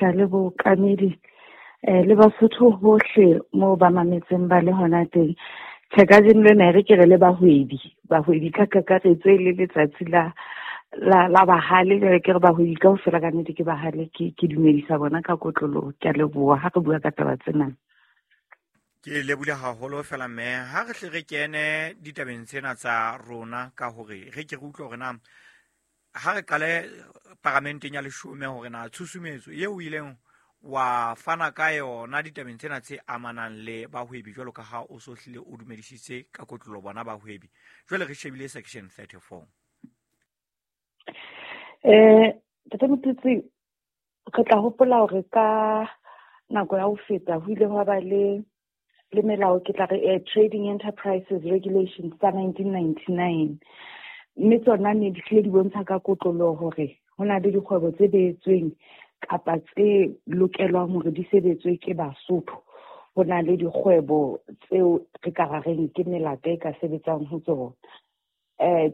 Le bookamedi le Basotho hohle moo ba mametseng ba le hona teng. Tjhe, kajeno lena e re ke re le bahwebi, bahwebi ka kakaretso e le letsatsi la bahale. Jwale ke re bahwebi kaofela ka nnete ke bahale, ke dumedisa bona ka kotloloho. Ke a leboha ha re bua ka taba tsena. Ke lebule haholo fela mme ha re hle re kene ditabeng tsena tsa rona ka hore re ke re utlwe hore na ha re qale paramenteng ya leshome hore na tshusumetso eo o ileng wa fana ka yona ditabeng tsena tse amanang le bahwebi, jwalo ka ha o so hlile o dumedisitse ka kotlolo bona bahwebi. Jwale re shebile section 34. Ntate Motutsi, re tla hopola hore ka nako ya ho feta ho ile hwa ba le melao, ke tla re Trading Enterprises Regulations tsa 1999, mme tsona ne di hlile di bontsha ka kotloloho hore ho na le dikgwebo tse beetsweng kapa tse lokelwang hore di sebetswe ke Basotho. Ho na le dikgwebo tseo re ka ra reng ke melata e ka sebetsang ho tsona.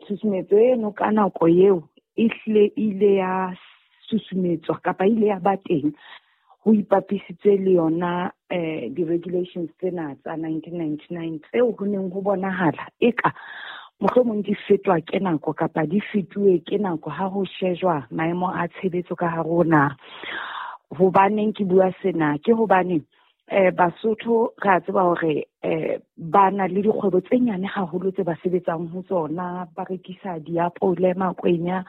Tshusumetso eno ka nako eo e hlile ile ya susumetswa kapa ile ya ba teng ho ipapisitswe le yona di-regulations tsena tsa 1999 tseo ho neng ho bonahala eka mohlomong di fetwa ke nako kapa di fetuwe ke nako ha ho shejwa maemo a tshebetso ka hare ho naha. Hobaneng ke bua sena? Ke hobane Basotho re a tseba hore ba na le dikgwebo tse nyane haholo tse ba sebetsang ho tsona, ba rekisa diapole, makwenya,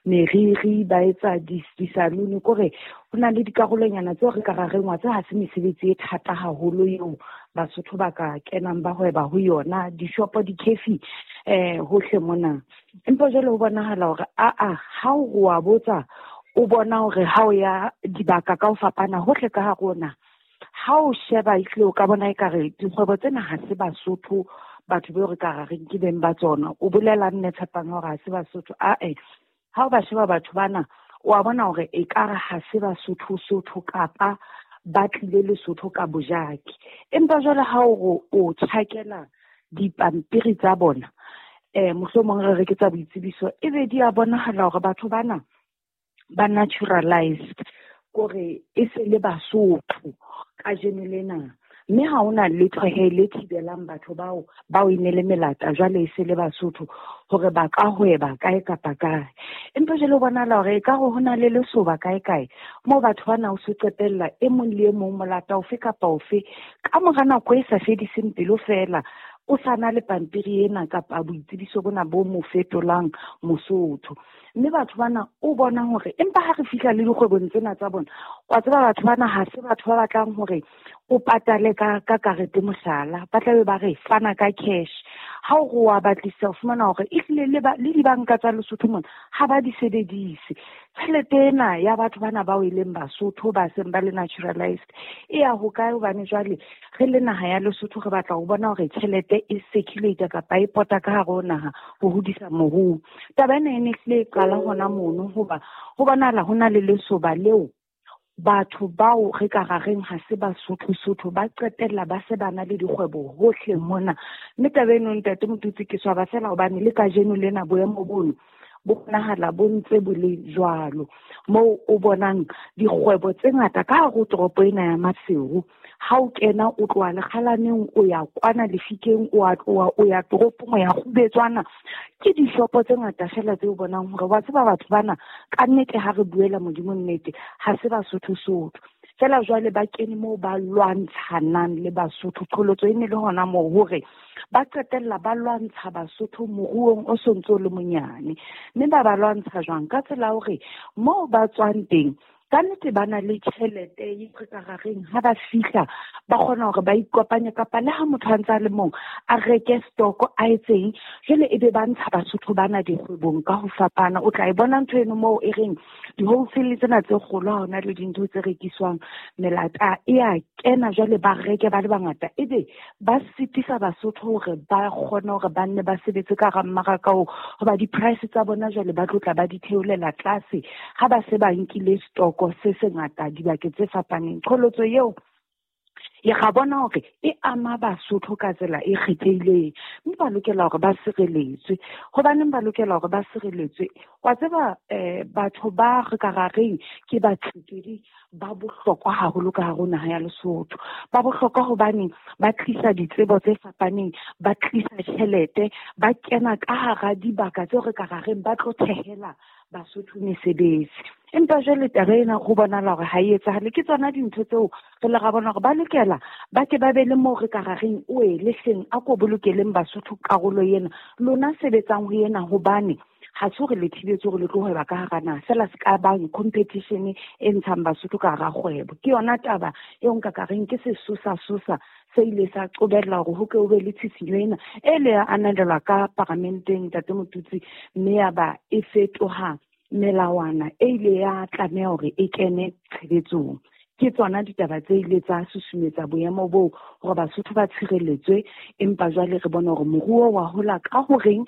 meriri, ba etsa disalune. Kore ho na le dikarolonyana tseo re ka ra reng wa tse ha se mesebetsi e thata haholo eo Basotho ba ka kenang ba hweba ho yona, dishopo, di-cafe hohle mona. Empa jwale ho bonahala hore aa ha o wa botsa o bona hore ha o ya dibaka ka ho fapana hohle ka hare ho naha, ha o sheba ehlile o ka bona ekare dikgwebo tsena ha se Basotho batho beo re ka ra reng ke beng ba tsona. O bolela mme Tshepang hore ha se Basotho? Ae, ha o ba sheba batho bana wa bona hore ekare ha se Basotho Sotho kapa ba tlile Lesotho ka bojaki. Empa jwale ha o re o tjhakela dipampiri tsa bona, mohlomong re re ke tsa boitsebiso, ebe di a bonahala hore batho bana ba naturalized, kore e se le Basotho kajeno lena. Mme ha hona letho he le thibelang batho bao e ne le melata jwale e se le Basotho hore ba ka hweba kae kapa kae. Empa jwale ho bonahala hore ekare ho na le lesoba kae kae moo batho bana o se qetella e mong le e mong molata ofe kapa ofe ka mora nako e sa fediseng pelo feela o sa na le pampiri ena kapa boitsebiso bona bo mo fetolang Mosotho. Mme batho bana o bona hore empa ha re fihla le dikgwebong tsena tsa bona, wa tseba batho bana ha se batho ba batlang hore o patale ka karete mohlala, ba tlabe ba re fana ka cash. Ha o re wa batlisa o fumana hore ehlile le dibanka tsa Lesotho mona ha ba di sebedise. Tjhelete ena ya batho bana bao e leng Basotho ba seng ba le naturalized e ya hokae? Hobane jwale re le naha ya Lesotho re batla ho bona hore tjhelete e circulate kapa e pota ka hare ho naha ho hodisa moruo. Taba ena e ne hlile e qala hona mono hoba ho bonahala ho na le lesoba leo batho bao re ka ra reng ha se Basotho Sotho ba qetella ba se ba na le dikgwebo hohle mona. Mme taba eno ntate Motutsi ke swaba fela hobane le kajeno lena boemo bono bo bonahala bo ntse bo le jwalo, moo o bonang dikgwebo tse ngata ka hare ho toropo ena ya Maseru. Ha o kena o tloha Lekgalaneng o ya kwana Lefikeng, o a tloha o ya toropong o ya Kgubetswana, ke dishopo tse ngata fela tse o bonang hore wa tseba batho bana ka nnete ha re buela Modimo nnete ha se Basotho Sotho. Fela jwale ba kene moo ba lwantshanang le Basotho. Qholotso e ne le hona moo hore ba qetella ba lwantsha Basotho moruong o sontso le monyane. Mme ba lwantsha jwang? Ka tsela ya hore moo ba tswang teng ka nnete ba na le tjhelete e re ka ra reng ha ba fihla ba kgona hore ba ikopanye kapa le ha motho a ntse a le mong a reke stock a etseng, jwale ebe ba ntsha Basotho bana dikgwebong ka ho fapana. O tla e bona ntho eno moo e reng di-wholesale tsena tse kgolo ha hona le dintho tse rekiswang melata e a kena, jwale ba reke ba le bangata, ebe ba sitisa Basotho hore ba kgone hore ba nne ba sebetse ka hara mmaraka oo, hoba di-price tsa bona jwale ba tlo tla ba di theolela tlase ha ba se ba nkile stock se sengata dibakeng tse fapaneng. Qholotso eo Ya ga bona hore e ama Basotho ka tsela e kgethehileng, mme ba lokela hore ba sireletswe. Hobaneng ba lokela hore ba sireletswe? Wa tseba batho ba re ka ra reng ke batsetedi ba bohlokwa haholo ka hare ho naha ya Lesotho. Ba bohlokwa hobane ba tlisa ditsebo tse fapaneng, ba tlisa tjhelete, ba kena ka hara dibaka tseo re ka ra reng ba tlo thehela Basotho mesebetsi. Empa jwale taba ena ho bonahala hore ha e etsahale. Ke tsona dintho tseo re le ra bona hore ba lokela ba ke ba be le moo re ka ra reng oe le hleng a ko bolokeleng Basotho karolo ena, lona sebetsang ho ena, hobane ha se hore le thibetse hore le tlo hweba ka hara naha, feela se ka bang competition e ntshang Basotho ka hara kgwebo. Ke yona taba eo nka ka reng ke sesosa-sosa se ile sa qobella hore ho ke ho be le tshisinyo ena e le ya ananelwa ka paramenteng, Ntate Motutsi, mme ya ba e fetoha melawana e ile ya tlameha hore e kene tshebetsong. Ke tsona ditaba tse ile tsa susumetsa boemo boo hore Basotho ba tshireletswe, empa jwale re bona hore moruo wa hola ka horeng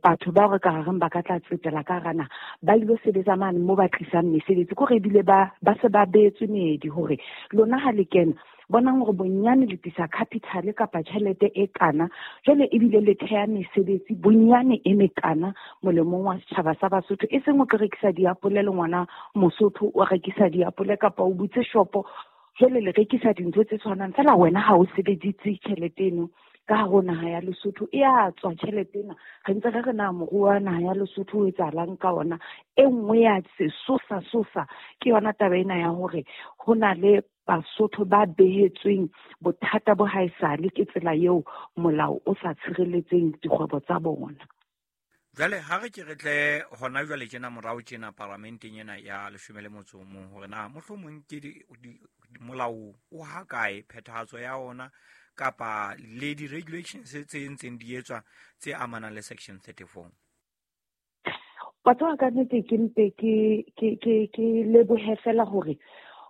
batho bao re ka reng ba ka tla tsetela ka hara naha ba ilo sebetsa mane moo ba tlisang mesebetsi. Ke hore ebile ba se ba beetswe meedi hore lona ha le kena bonang hore bonyane le tlisa capital kapa tjhelete e kana, jwale ebile le theha mesebetsi bonyane e mekana molemong wa setjhaba sa Basotho. E seng o tlo rekisa diapole le ngwana Mosotho o rekisa diapole kapa o butse shopo, jwale le rekisa dintho tse tshwanang fela, wena ha o sebeditse tjhelete eno ka hare ho naha ya Lesotho. E a tswa tjhelete ena, re ntse re re na moruo wa naha ya Lesotho o etsahalang ka ona. E nngwe ya sesosa-sosa ke yona taba ena ya hore ho na le Basotho ba behetsweng bothata bo haesale ke tsela eo molao o sa tshireletseng dikgwebo tsa bona. Jwale ha re ke re tle hona jwale tjena morao tjena paramenteng ena ya 11 hore na mohlomong ke molao o ha kae, phethahatso ya ona kapa le di-regulations tse ntseng di etswa tse amanang le section 34. Wa tseba ka nnete ke mpe ke lebohe fela hore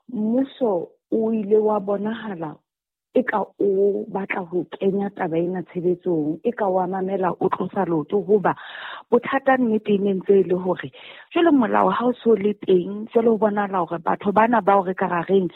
mmuso o ile wa bonahala e ka o batla ho kenya taba ena tshebetsong, e ka wa mamela o tlosa leoto, hoba bothata nnete e ne ntse e le hore jwale molao ha o so le teng, jwale ho bonahala hore batho bana bao re ka ra reng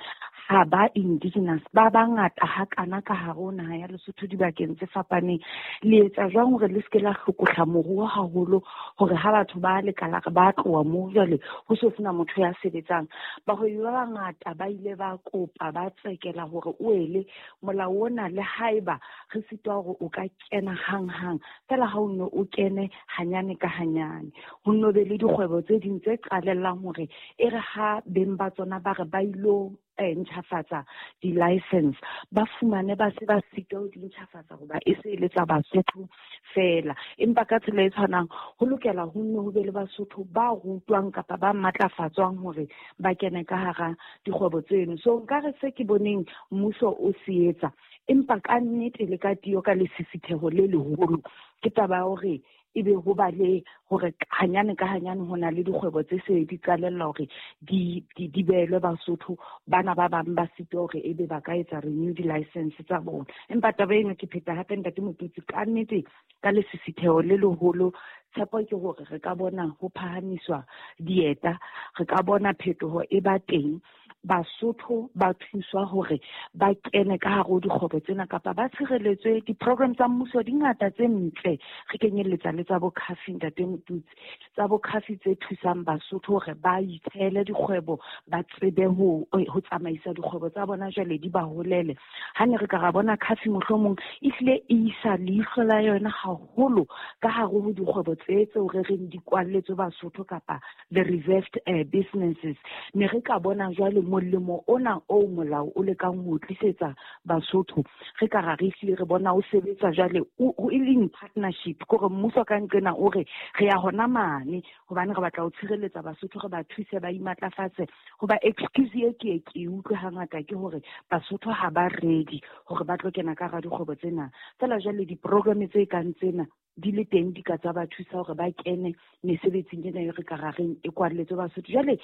ha ba indigenous ba bangata hakana ka hare ho naha ya Lesotho dibakeng tse fapaneng. Le etsa jwang hore le seke la hlokohla moruo haholo hore ha batho ba lekala re ba tloha moo jwale ho so sena motho ya sebetsang? Bahwebi ba bangata ba ile ba kopa ba tsekela hore o ele molao ona, le haeba re sitwa hore o ka kena hang-hang, fela ha o nno o kene hanyane ka hanyane. Ho nno be le dikgwebo tse ding tse qalellang hore e re ha beng ba tsona ba re ba ilo ntjhafatsa di-license, ba fumane ba se ba sitwa ho di ntjhafatsa hoba e se e le tsa Basotho fela. Empa ka tsela e tshwanang ho lokela ho nne ho be le Basotho ba rutwang kapa ba matlafatswang hore ba kene ka hara dikgwebo tseno. So nkare se ke boneng mmuso o se etsa, empa ka nnete le ka tiyo ka lesisitheho le leholo, ke taba ya hore ebe ho ba le hore hanyane ka hanyane ho na le dikgwebo tse se di qalella hore di behelwe Basotho, bana ba bang ba sitwa hore ebe ba ka etsa renew di-license tsa bona. Empa taba eno ke pheta hape Ntate Motutsi, ka nnete ka lesisitheho le leholo, tshepo ke hore re ka bona ho phahamiswa dieta, re ka bona phetoho e ba teng, Basotho ba thuswa hore ba kene ka hare ho dikgwebo tsena kapa ba tshireletswe. Di-program tsa mmuso di ngata tse ntle, re kenyelletsa le tsa bo Khafi, Ntate Motutsi, tsa bo Khafi tse thusang Basotho hore ba ithehele dikgwebo, ba tsebe ho tsamaisa dikgwebo tsa bona jwale di ba holele. Ha ne re ka ra bona Khafi mohlomong e hlile e isa leihlo la yona haholo ka hare ho dikgwebo tse tseo re reng di kwalletswe Basotho kapa the reserved businesses, ne re ka bona jwale molemo ona o molao o lekang ho tlisetsa Basotho, re ka ra re hlile re bona o sebetsa jwale o e leng partnership, kore mmuso ka nqena o re re ya hona mane hobane re batla ho tshireletsa Basotho, re ba thuse ba imatlafatse. Hoba excuse e ke e utlwe hangata ke hore Basotho ha ba ready hore ba tlo kena ka hara dikgwebo tsena. Feela jwale di-program tse kang tsena di le teng di ka tsa ba thusa hore ba kene mesebetsing ena e re ka rareng e kwalletswe Basotho. Jwale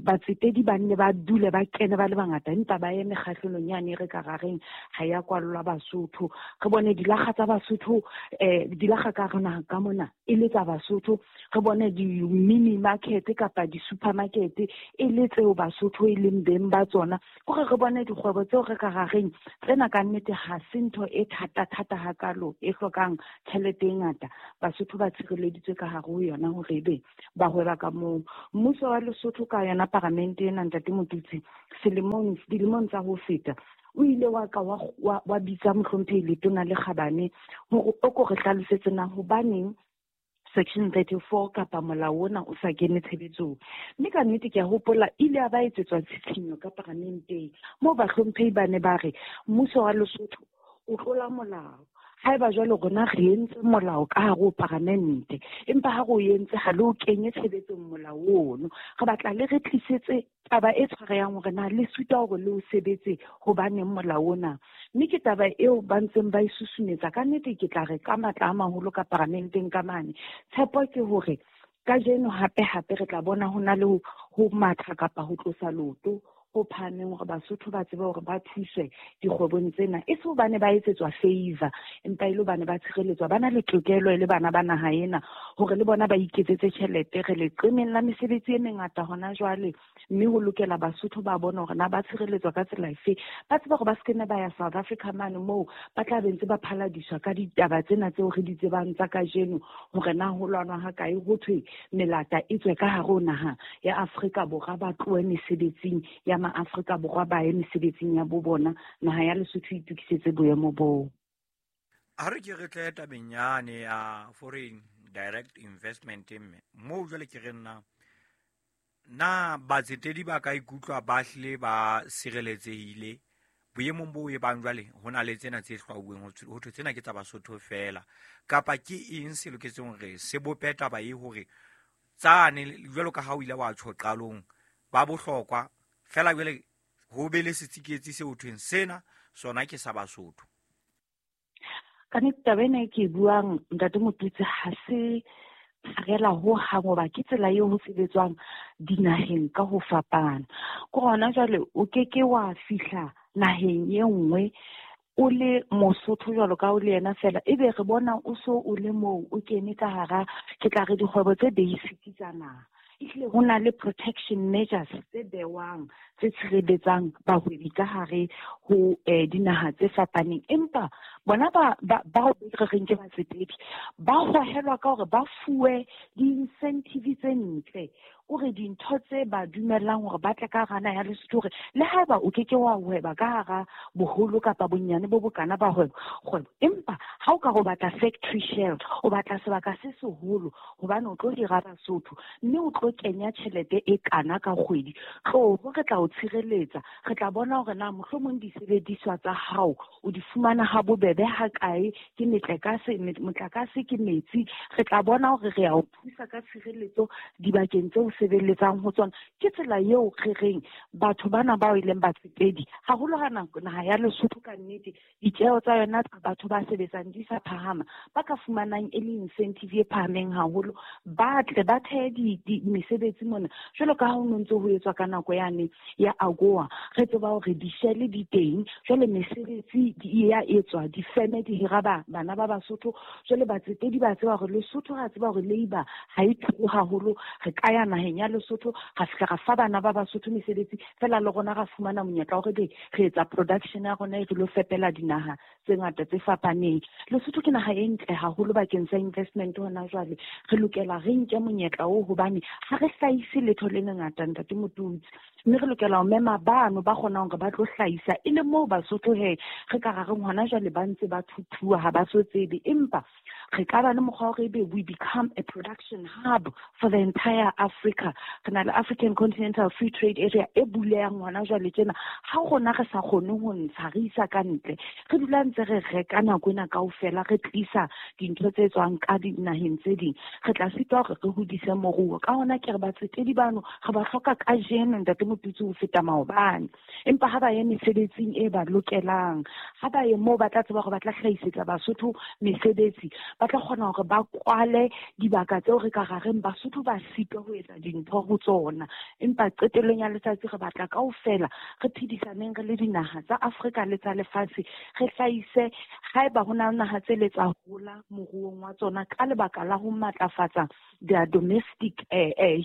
batsetedi ba nne ba dule ba kene ba le bangata, empa ba ye mekgahlelong yane e re ka rareng ha ya kwallwa Basotho. Re bone dilakga tsa Basotho, dilakga ka hare naha ka mona e le tsa Basotho. Re bone di-mini market kapa di-supermarket e le tseo Basotho e leng beng ba tsona. Kore re bone dikgwebo tseo re ka rareng tsena ka nnete ha se ntho e thata-thata hakalo e hlokang tjhelete e ngata. Basotho ba tshireleditswe ka hare ho yona hore ebe ba hweba ka moo. Mmuso wa Lesotho ka yona paramente ena, Ntate Motutsi, dilemong tsa ho feta o ile wa ka wa bitsa mohlomphehi Letona le Kgabane hore o ko re hlalosetse na hobaneng section 34 kapa molao ona o sa kene tshebetsong. Mme ka nnete ke a hopola ile a ba etsetswa tshitshinyo ka paramenteng moo bahlomphehi ba ne ba re mmuso wa Lesotho o tlola molao. Haeba jwale rona re entse molao ka hare ho paramente, empa ha re o entse ha le o kenye tshebetsong molao ono. Re batla le re tlisetse taba e tshwarehang hore na le suta hore le o sebetse hobaneng molao ona. Mme ke taba eo ba ntseng ba e susumetsa. Ka nnete ke tla re ka matla a maholo ka paramenteng ka mane. Tshepo ke hore kajeno hape-hape re tla bona ho na le ho matha kapa ho tlosa leoto ho phahameng hore Basotho ba tsebe hore ba thuswe dikgwebong tsena. E se hobane ba etsetswa favor, empa e le hobane ba tshireletswa, ba na le tokelo e le bana ba naha ena hore le bona ba iketsetse tjhelete. Re leqemeng la mesebetsi e mengata hona jwale, mme ho lokela Basotho ba bone hore na ba tshireletswa ka tsela efe. Ba tsebe hore ba se kene ba ya South Africa mane moo ba tla be ntse ba phaladiswa ka ditaba tsena tseo re di tsebang tsa kajeno, hore na ho lwanwa ha kae, ho thwe melata e tswe ka hare ho naha ya Afrika Borwa, ba tlohe mesebetsing ya ma-Afrika Borwa ba ye mesebetsing ya bo bona. Naha ya Lesotho e itokisetse boemo boo. Ha re ke re tle tabeng yane ya foreign direct investment, mme moo jwale ke re nna na batsetedi ba ka ikutlwa ba hlile ba sireletsehile boemong bo e bang jwale ho na le tsena tse hlwauweng ho thwe tsena ke tsa Basotho fela, kapa ke eng se loketseng hore se bope taba e hore tsane jwalo ka ha o ile wa tjho qalong ba bohlokwa fela jwale ho be le setsiketsi se ho thweng sena sona ke sa Basotho? Ka nnete taba ena e ke e buang, Ntate Motutsi, ha se pharela ho hang, hoba ke tsela eo ho sebetswang dinaheng ka ho fapana. Ke hona jwale o keke wa fihla naheng e nngwe o le Mosotho jwalo ka o le yena fela, ebe re bona o so o le moo o kene ka hara, ke tla re dikgwebo tse basic tsa naha. Ehlile ho na le protection measures tse bewang tse tshireletsang bahwebi ka hare ho dinaha tse fapaneng. Empa bona bao re reng ke batsetedi ba hohelwa ka hore ba fuwe di-incentive tse ntle, hore dintho tse ba dumellang hore ba tle ka hara naha ya Lesotho, hore le haeba o keke wa hweba ka hara boholo kapa bonyane bo bokana ba kgwebo, empa ha o ka re o batla factory shell, o batla sebaka se seholo hobane o tlo hira Basotho mme o tlo kenya tjhelete e kana ka kgwedi, tloho re tla o tshireletsa. Re tla bona hore na mohlomong disebediswa tsa hao o di fumana ha bobebe ha kae, ke motlakase, ke metsi. Re tla bona hore re a o thusa ka tshireletso dibakeng tseo sebeletsang ho tsona. Ke tsela eo re reng batho bana bao e leng batsetedi, haholo ha naha ya Lesotho ka nnete ditjeho tsa yona tsa batho ba sebetsang di sa phahama, ba ka fumanang e le incentive e phahameng haholo, ba tle ba thehe mesebetsi mona. Jwalo ka ha ho no ntse ho etswa ka nako yane ya AGOA, re tseba hore dishele di teng, jwale mesebetsi di ya etswa, difeme di hira bana ba Basotho. Jwale batsetedi ba tseba hore Lesotho, ra tseba hore labour ha e turu haholo, re ka ya naheng ya Lesotho ra fihla ra fa bana ba Basotho mesebetsi fela, le rona ra fumana monyetla wa hore be re etsa production ya rona e re lo fepela dinaha tse ngata tse fapaneng. Lesotho ke naha e ntle haholo bakeng sa investment hona jwale. Re lokela re nke monyetla oo hobane ha re hlahise letho le lengata, Ntate Motutsi, mme re lokela ho mema bano ba kgonang hore ba tlo hlahisa, e le moo Basotho he re ka ra reng hona jwale ba ntse ba thuthuwa, ha ba so tsebe, empa re ka ba le mokgwa wa hore ebe we become a production hub for the entire Africa. Re na le African Continental Free Trade Area e bulehang hona jwale tjena. Ha rona re sa kgone ho ntsha re isa ka ntle, re dula ntse re reka nako ena kaofela, re tlisa dintho tse tswang ka dinaheng tse ding, re tla sitwa hore re hodise moruo. Ka hona ke re batsetedi bano re ba hloka kajeno, Ntate Motutsi, ho feta maobane. Empa ha ba ye mesebetsing e ba lokelang, ha ba ye moo ba tla tseba hore ba tla hlahisetsa Basotho mesebetsi, ba tla kgona hore ba kwale dibaka tseo re ka rareng Basotho ba sitwa ho etsa dintho ho tsona. Empa qetellong ya letsatsi re batla kaofela re phedisaneng re le dinaha tsa Afrika le tsa lefatshe, re hlahise haeba ho na le naha tse le tsa hola moruong wa tsona ka lebaka la ho matlafatsa their domestic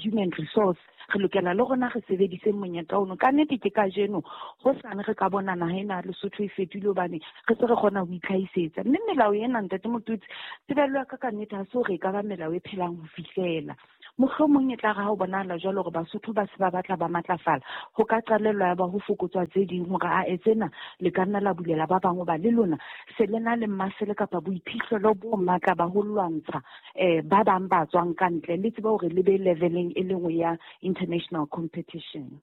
human resource. Re lokela le rona re sebedise monyetla ono. Ka nnete ke kajeno hosane re ka bona naha ena ya Lesotho e fetohile hobane re se re kgona ho itlhahisetsa. Mme melao ena, Ntate Motutsi, tebello ya ka ka nnete ha se hore e ka ba melao e phelang ho fihlela. Mohlomong e tla re ha ho bonahala jwalo hore Basotho ba se ba batla ba matlafala, ho ka qalellwa ya ba ho fokotswa tse ding hore a tsena le ka nna la bulela ba bang, hoba le lona se le na le masele kapa boiphihlelo bo matla ba ho lwantsha ba bang ba tswang ka ntle, le tsebe hore le be leveleng e le nngwe ya international competition.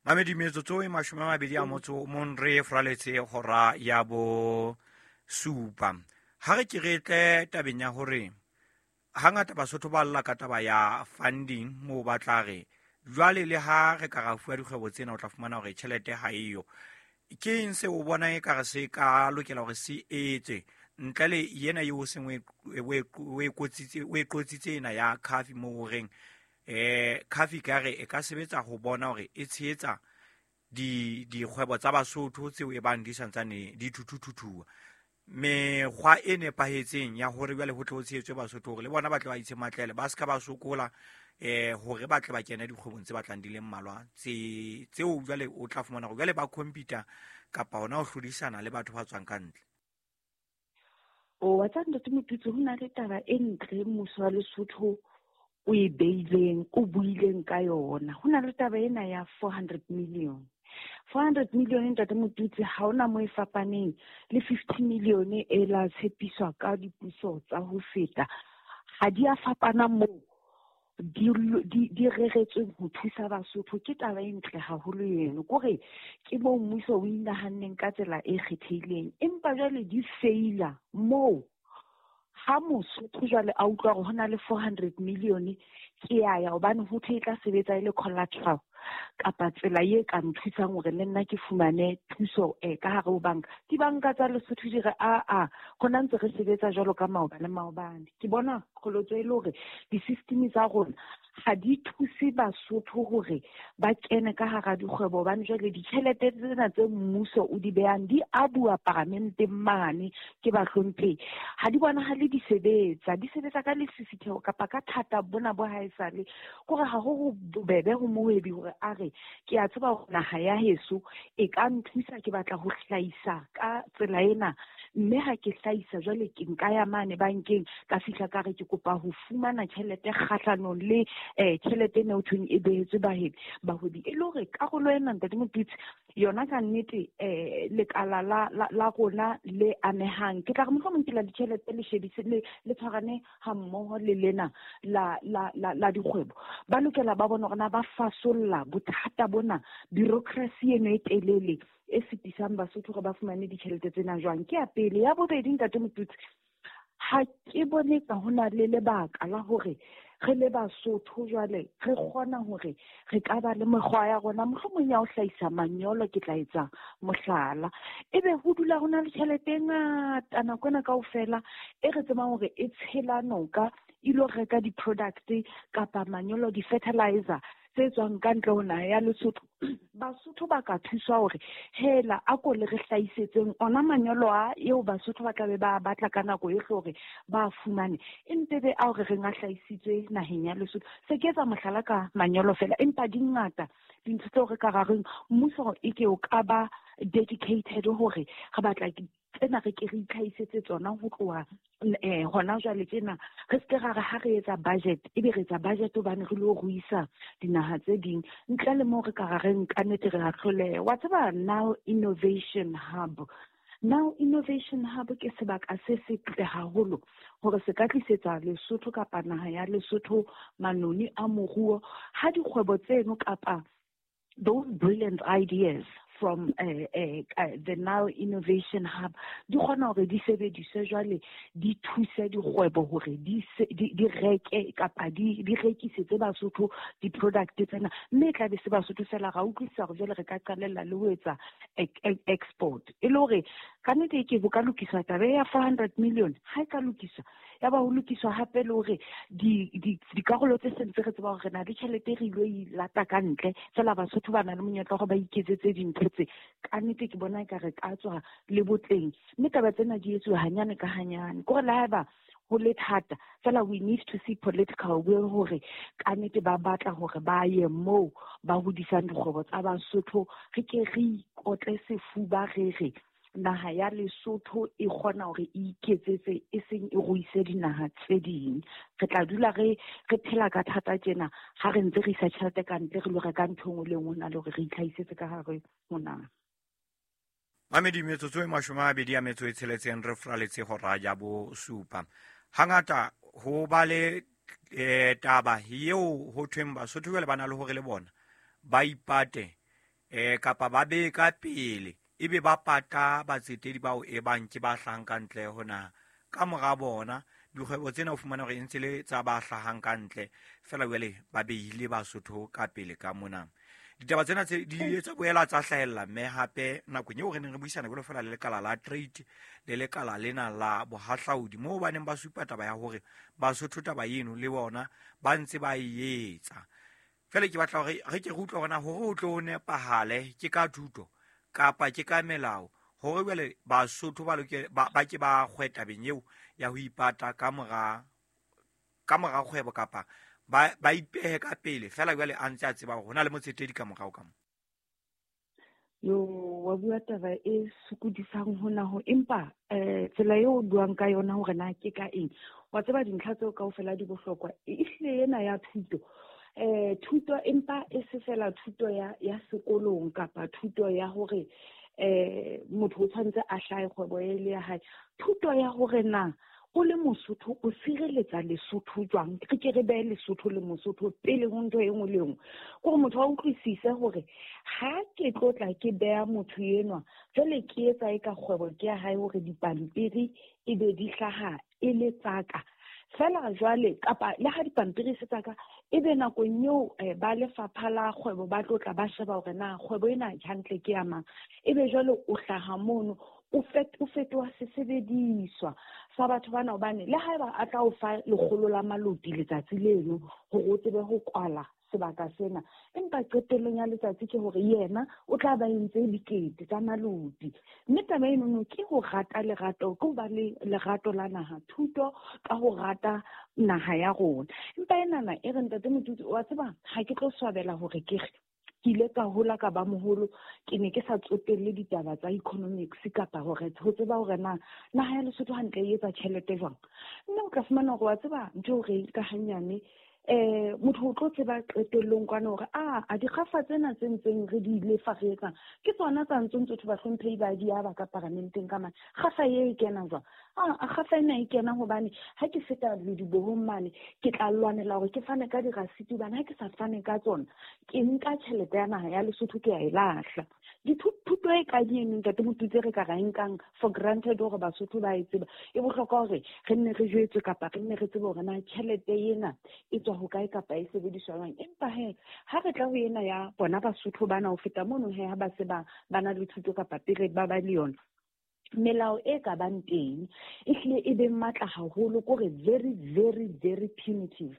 Mamedi, metsotso e 21 re fraletse hora ya 7. Ha re ke re tle tabeng ya hore hangata Basotho ba lla ka taba ya funding, moo ba tla re jwale le ha re ka ra fuwa dikgwebo tsena, o tla fumana hore tjhelete ha eyo. Ke eng se o bonang e ka re se ka lokela hore se etse ntle le yena eo seng o e qotsitse ena ya coffee, moo o reng coffee ka re e ka sebetsa ho bona hore e tshehetsa dikgwebo tsa Basotho tseo e bang di santsane di thuthuthuthuwa, mekgwa e nepahetseng ya hore jwale ho tle ho tshehetswe Basotho hore le bona ba tle ba itse matlele, ba se ka ba sokola hore ba tle ba kene dikgwebong tse batlang di le mmalwa tseo jwale o tla fumana hore jwale ba computer kapa hona ho hlodisana le batho ba tswang ka ntle. O wa tsa Ntate Motutsi, ho na le taba e ntle mmuso wa Lesotho o e beileng, o buileng ka yona. Ho na le taba ena ya 400 million. 400 million, Ntate Motutsi, ha hona moo e fapaneng le 50 million e la tshepiswa ka dipuso tsa ho feta. Ha di a fapana moo di reretsweng ho thusa Basotho. Ke taba e ntle haholo eno, kore ke moo mmuso o inahanneng ka tsela e kgethehileng, empa jwale di feila moo. Ha Mosotho jwale a utlwa hore ho na le 400 million, ke ya ya hobane ho thwe e tla sebetsa e le collateral kapa tsela e ka nthusang hore le nna ke fumane thuso ka hare ho banka. Dibanka tsa Lesotho di re a rona ntse re sebetsa jwalo ka maobane maobane. Ke bona qholotso e le hore di-system tsa rona ha di thuse Basotho hore ba kene ka hara dikgwebo, hobane jwale ditjhelete tsena tse mmuso o di behang di a bua paramenteng mane ke bahlomphehi, ha di bonahale di sebetsa, di sebetsa ka lesisitheho kapa ka thata bona bo haesale. Kore ha ho bobebe ho mohwebi hore a re ke a tseba hore naha ya heso e ka nthusa, ke batla ho hlahisa ka tsela ena, mme ha ke hlahisa jwale ke nka ya mane bankeng ka fihla ka re ke kopa ho fumana tjhelete kgahlanong le tjhelete ena ho thweng e behetswe bahwebi. E le hore karolo ena, Ntate Motutsi, yona ka nnete lekala la rona le amehang, ke tla re mohlomong ke la ditjhelete le shebise le tshwarane ha mmoho le lena la dikgwebo, ba lokela ba bone hore na ba fasolla bothata bona, bureaucracy eno e telele e sitisang Basotho hore ba fumane ditjhelete tsena jwang. Ke ya pele. Ya bobedi, Ntate Motutsi, ha ke bone ka ho na le lebaka la hore re le Basotho jwale re kgona hore re ka ba le mekgwa ya rona mohlomong ya ho hlahisa manyolo, ke tla etsa mohlala, ebe ho dula ho na le tjhelete e ngata nako ena kaofela e re tsebang hore e tshela noka e lo reka di-product kapa manyolo, di-fertilizer tse tswang ka ntle ho naha ya Lesotho. Basotho ba ka thuswa hore hela a ko le re hlahisetseng ona manyolo a eo Basotho ba tlabe ba batla ka nako yohle hore ba fumane, empe be ao re reng a hlahisitswe naheng ya Lesotho. Se ke etsa mohlala ka manyolo fela, empa di ngata dintho tseo re ka ra reng mmuso e ke o ka ba dedicated hore re batla tsena re ke re itlhahisetse tsona ho tloha hona jwale tjena. Re se ke ra re ha re etsa budget, ebe re etsa budget hobane re lo ruisa dinaha tse ding, ntle le moo re ka ra re nka nnete re a hloleha. Wa tseba Now Innovation Hub, Now Innovation Hub ke sebaka se setle haholo hore se ka tlisetsa Lesotho kapa naha ya Lesotho manoni a moruo ha dikgwebo tseno kapa those brilliant ideas from the Nile Innovation Hub di kgona hore di sebediswe jwale, di thuse dikgwebo hore di reke kapa di rekisetse Basotho di-product tsena, mme e tla be se Basotho fela. Ra utlwisisa hore jwale re ka qalella le ho etsa export, e le hore ka nnete ke bo ka lokiswa taba ya 400 million. Ha e ka lokiswa, ya ba ho lokiswa hape le hore dikarolo tse sentse re tseba hore re na le tjhelete re ilo e lata ka ntle fela, Basotho ba na le monyetla wa hore ba iketsetse dintho tse. Ka nnete ke bona eka re ka tswa le botleng, mme taba tsena di etsuwa hanyane ka hanyane. Ke hore le haeba ho le thata fela, we need to see political will hore ka nnete ba batla hore ba ye moo ba hodisang dikgwebo tsa Basotho. Re ke re ikotle sefuba, re re naha ya Lesotho e kgona hore e iketsetse, e seng e ruise dinaha tse ding. Re tla dula re phela ka thata tjena ha re ntse re isa tjhelete ka ntle, re lo reka ntho e nngwe le e nngwe, ho na le hore re itlhahisetse ka hare ho naha. Mamedi, metsotso e 26 re fraletse hora ya 7. Hangata ho ba le taba eo ho thweng Basotho jwale ba na le hore le bona ba ipate kapa ba bee ka pele, ebe ba pata batsetedi bao e bang ke ba hlahang ka ntle ho naha. Ka mora bona dikgwebo tsena o fumana hore e ntse le tsa ba hlahang ka ntle fela, jwale ba beile Basotho ka pele ka mona. Ditaba tsena tse di ile tsa boela tsa hlahella mme hape nakong eo re neng re buisana jwalo fela le lekala la trade le lekala lena la bohahlaudi, moo ba neng ba supa taba ya hore Basotho taba eno le bona ba ntse ba e etsa. Fela ke batla hore re ke re utlwe hore na hore ho tlo nepahale ke ka thuto kapa ke ka melao, hore jwale Basotho ba loke ba ke ba kgwe tabeng eo ya ho ipata ka mora kgwebo, kapa ba ipehe ka pele fela jwale a ntse a tseba hore ho na le motsetedi ka morao ka mo. Yo, wa bua taba e sokodisang hona ho, empa tsela eo o buang ka yona hore na ke ka eng, wa tseba dintlha tseo kaofela di bohlokwa. Ehlile ena ya thuto, thuto empa e se fela thuto ya sekolong kapa thuto ya hore motho o tshwanetse a hlahe kgwebo e le ya hae. Thuto ya hore na o le Mosotho o sireletsa Lesotho jwang, re ke re behe Lesotho le Mosotho pele ho ntho e nngwe le e nngwe. Ke hore motho a utlwisise hore ha ke tlo tla ke beha motho enwa jwale ke etsa e ka kgwebo ke ya hae, hore dipampiri e be di hlaha e le tsaka fela jwale, kapa le ha dipampiri se tsaka, ebe nakong eo ba lefapha la kgwebo ba tlo tla ba sheba hore na kgwebo ena hantle ke ya mang, ebe jwale o hlaha mono o fetoha sesebediswa sa batho bana. Hobane le haeba a tla o fa 100 la maloti letsatsi leno hore o tsebe ho kwala sebaka sena, empa qetellong ya letsatsi ke hore yena o tla ba entse dikete tsa maloti. Mme taba enono ke ho rata lerato, ke ho ba le lerato la naha, thuto ka ho rata naha ya rona. Empa enana e re ntate Motutsi, wa tseba ha ke tlo swabela hore ke re ke ile ka hola ka ba moholo, ke ne ke sa tsotelle ditaba tsa economics kapa hore ho tseba hore na naha ya Lesotho hantle e etsa tjhelete jwang. Mme o tla fumana hore wa tseba ntho eo re e nka hanyane, motho o tlo tseba qetellong kwana hore a dikgafa tsena tse ntseng re di lefa re etsang ke tsona tsa ntse ntse bahlomphehi ba di aba ka paramenteng ka mane. Kgafa e kena jwang? A kgafa ena e kena hobane ha ke feta ledibohong mane ke tla lwanela hore ke fane ka dirasiti, hobane ha ke sa fane ka tsona ke nka tjhelete ya naha ya Lesotho ke ya e lahla. Dithuto e ka di eno ntate Motutsi re ka ra nkang for granted hore Basotho ba e tseba, e bohlokwa hore re nne re jwetswe kapa re nne re tsebe hore na tjhelete ena e tswa hokae kapa e sebediswa jwang. Empa he ha re tla ho ena ya bona Basotho bana ho feta mono, he ha ba se ba na le thuto kapa pele ba ba le yona, melao e ka bang teng e hlile e be matla haholo, kore very very very punitive,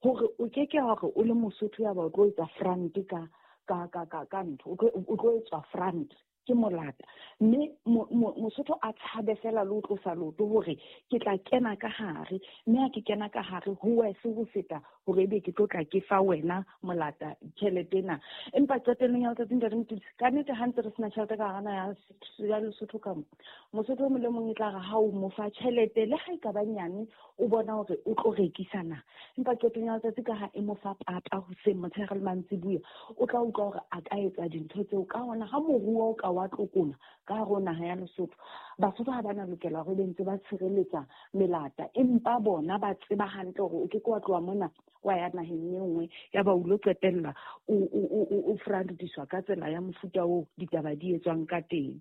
hore o ke ke hore o le Mosotho ya ba o tlo etsa front ka ntho, o tlo etswa front ke molata. Mme Mosotho a tshabe fela le ho tlosa leoto hore ke tla kena ka hare, mme ha ke kena ka hare ho wese ho feta hore ebe ke tlo tla ke fa wena molata tjhelete ena. Empa qetellong ya letsatsi ntate Motutsi, ka nnete ha ntse re sena tjhelete ka hara naha ya Lesotho ka mo, Mosotho o mong le mong e tla re ha o mo fa tjhelete le ha e ka ba nyane, o bona hore o tlo rekisa na. Empa qetong ya letsatsi ka ha e mo fa papa hoseng motshehare le mantsibuya, o tla utlwa hore a ka etsa dintho tseo. Ka hona ha moruo o ka wa tlokoma ka hare ho naha ya Lesotho. Basotho ha ba na lokela hore be ntse ba tshireletsa melata, empa bona ba tseba hantle hore o ke ke wa tloha mona wa ya naheng e nngwe ya ba o lo qetella o frandiswa ka tsela ya mofuta oo ditaba di etswang ka teng.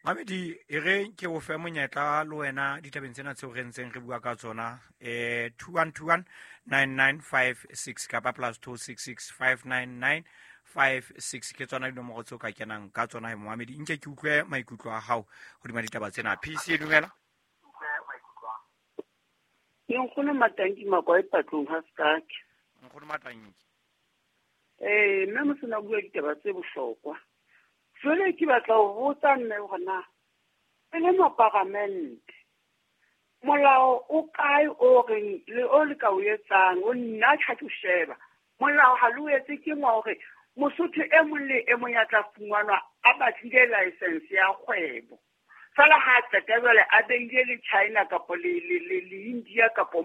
Mamedi, e re ke o fe monyetla le wena ditabeng tsena tseo re ntseng re bua ka tsona, 2121 9956 kapa +266 599 56 ke tsona dinomoro tseo ka kenang ka tsona. Momamedi, nke ke utlwe maikutlo a hao hodima ditaba tsena. PC, dumela. Ke Nkgono Matanki Makwae Patlong ha Sekake. Nkgono Matanki. Mme Mosena bua ditaba tse bohlokwa. Jwale ke batla ho botsa mme hore na e le moparamente molao o kae o reng le o le ka o etsang, o nna ha ke o sheba molao ha le o etse ke ngwa hore Mosotho e mong le e mong ya tla fumanwa a batlile license ya kgwebo, fela ha qeta jwale a beile le China kapa le India kapa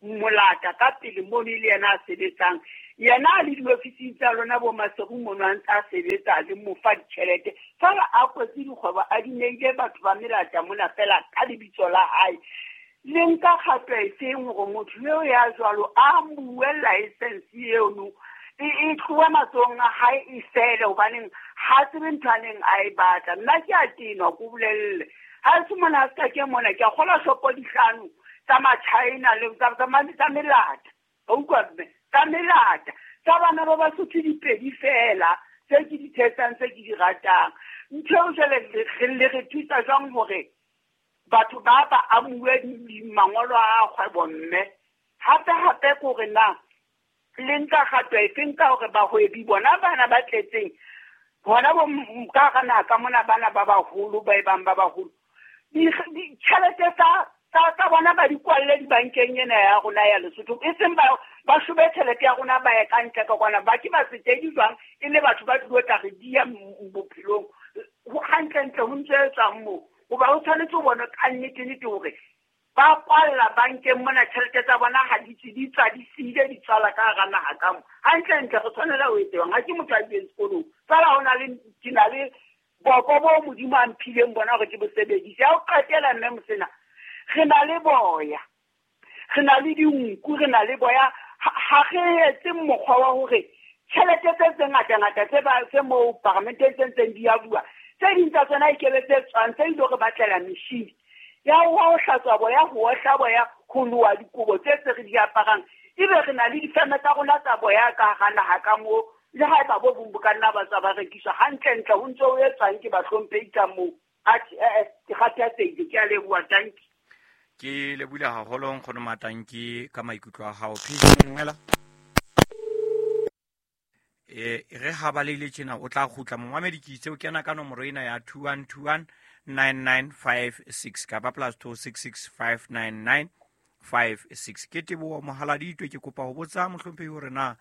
molata ka pele mono e le yena a sebetsang, yena a le diofising tsa lona bo Maseru mono a ntse a sebetsa le mo fa ditjhelete, fela a kwetse dikgwebo a di neile batho ba melata mona fela ka lebitso la hae. Le nka kgato efeng hore motho eo ya jwalo a bue license eno e tlohe matsohong a hae e fele, hobaneng ha tsebe ntho a neng a e batla. Nna ke a tenwa, ko bolelle ha se mona se ka ke mona ke a kgola shopo dihlano tsa ma-China le tsa melata, wa utlwa mme, tsa melata tsa bana ba Basotho dipedi fela tse ke di thetsang tse ke di ratang. Ntho eo jwale le re thusa jwang hore batho ba ba amuwe mangolo a kgwebo mme? Hape hape ke hore na le nka kgato efeng ka hore bahwebi bona bana ba tletseng bona bo ka hara naha ka mona bana ba baholo ba e bang ba baholo, ditjhelete tsa bona ba di kwalle dibankeng ena ya rona ya Lesotho, e seng ba shube tjhelete ya rona ba ye ka ntle ka kwana, ba ke ba setedi jwang e le batho ba tlilo tla re diya bophelong hantlentle ho ntse etswang moo. Hoba o tshwanetse o bone ka nnete-nnete hore ba kwalla bankeng mona tjhelete tsa bona ha di tswe, di tswa di siile di tswala ka hara naha ka mo. Hantlentle re tshwanela ho etswang, ha ke motho a ileng sekolong, fela ho na le ke na le boko bo Modimo a mphileng bona hore ke bo sebedise. Ya ho qetela mme Mosena, re na le boya, re na le dinku, re na le boya, ha re etse mokgwa wa hore tjhelete tse ngata-ngata tse ba tse moo paramenteng tse ntseng di a bua, tse ding tsa tsona e kebe tse tswang tse ilo re batlela metjhini ya ho hlatswa boya, ho ohla boya, ho loha dikobo tse tse re di aparang, ebe re na le difeme tsa rona tsa boya ka hara naha ka moo, le haeba bo bong bo ka nna ba tswa ba rekiswa hantlentle ho ntse ho etswang ke bahlomphehi ka moo. Atjhe, ke kgathatsehile, ke a leboha, tanki. Ke lebohile haholo Nkgono Matanki ka maikutlo a hao. PC, dumela. Re ha ba leile tjena o tla kgutla. Momamedi ke itse o kena ka nomoro ena ya 2121 9956 kapa +266 599 56. Ke Teboho Mohaladitwe, ke kopa ho botsa mohlomphehi hore na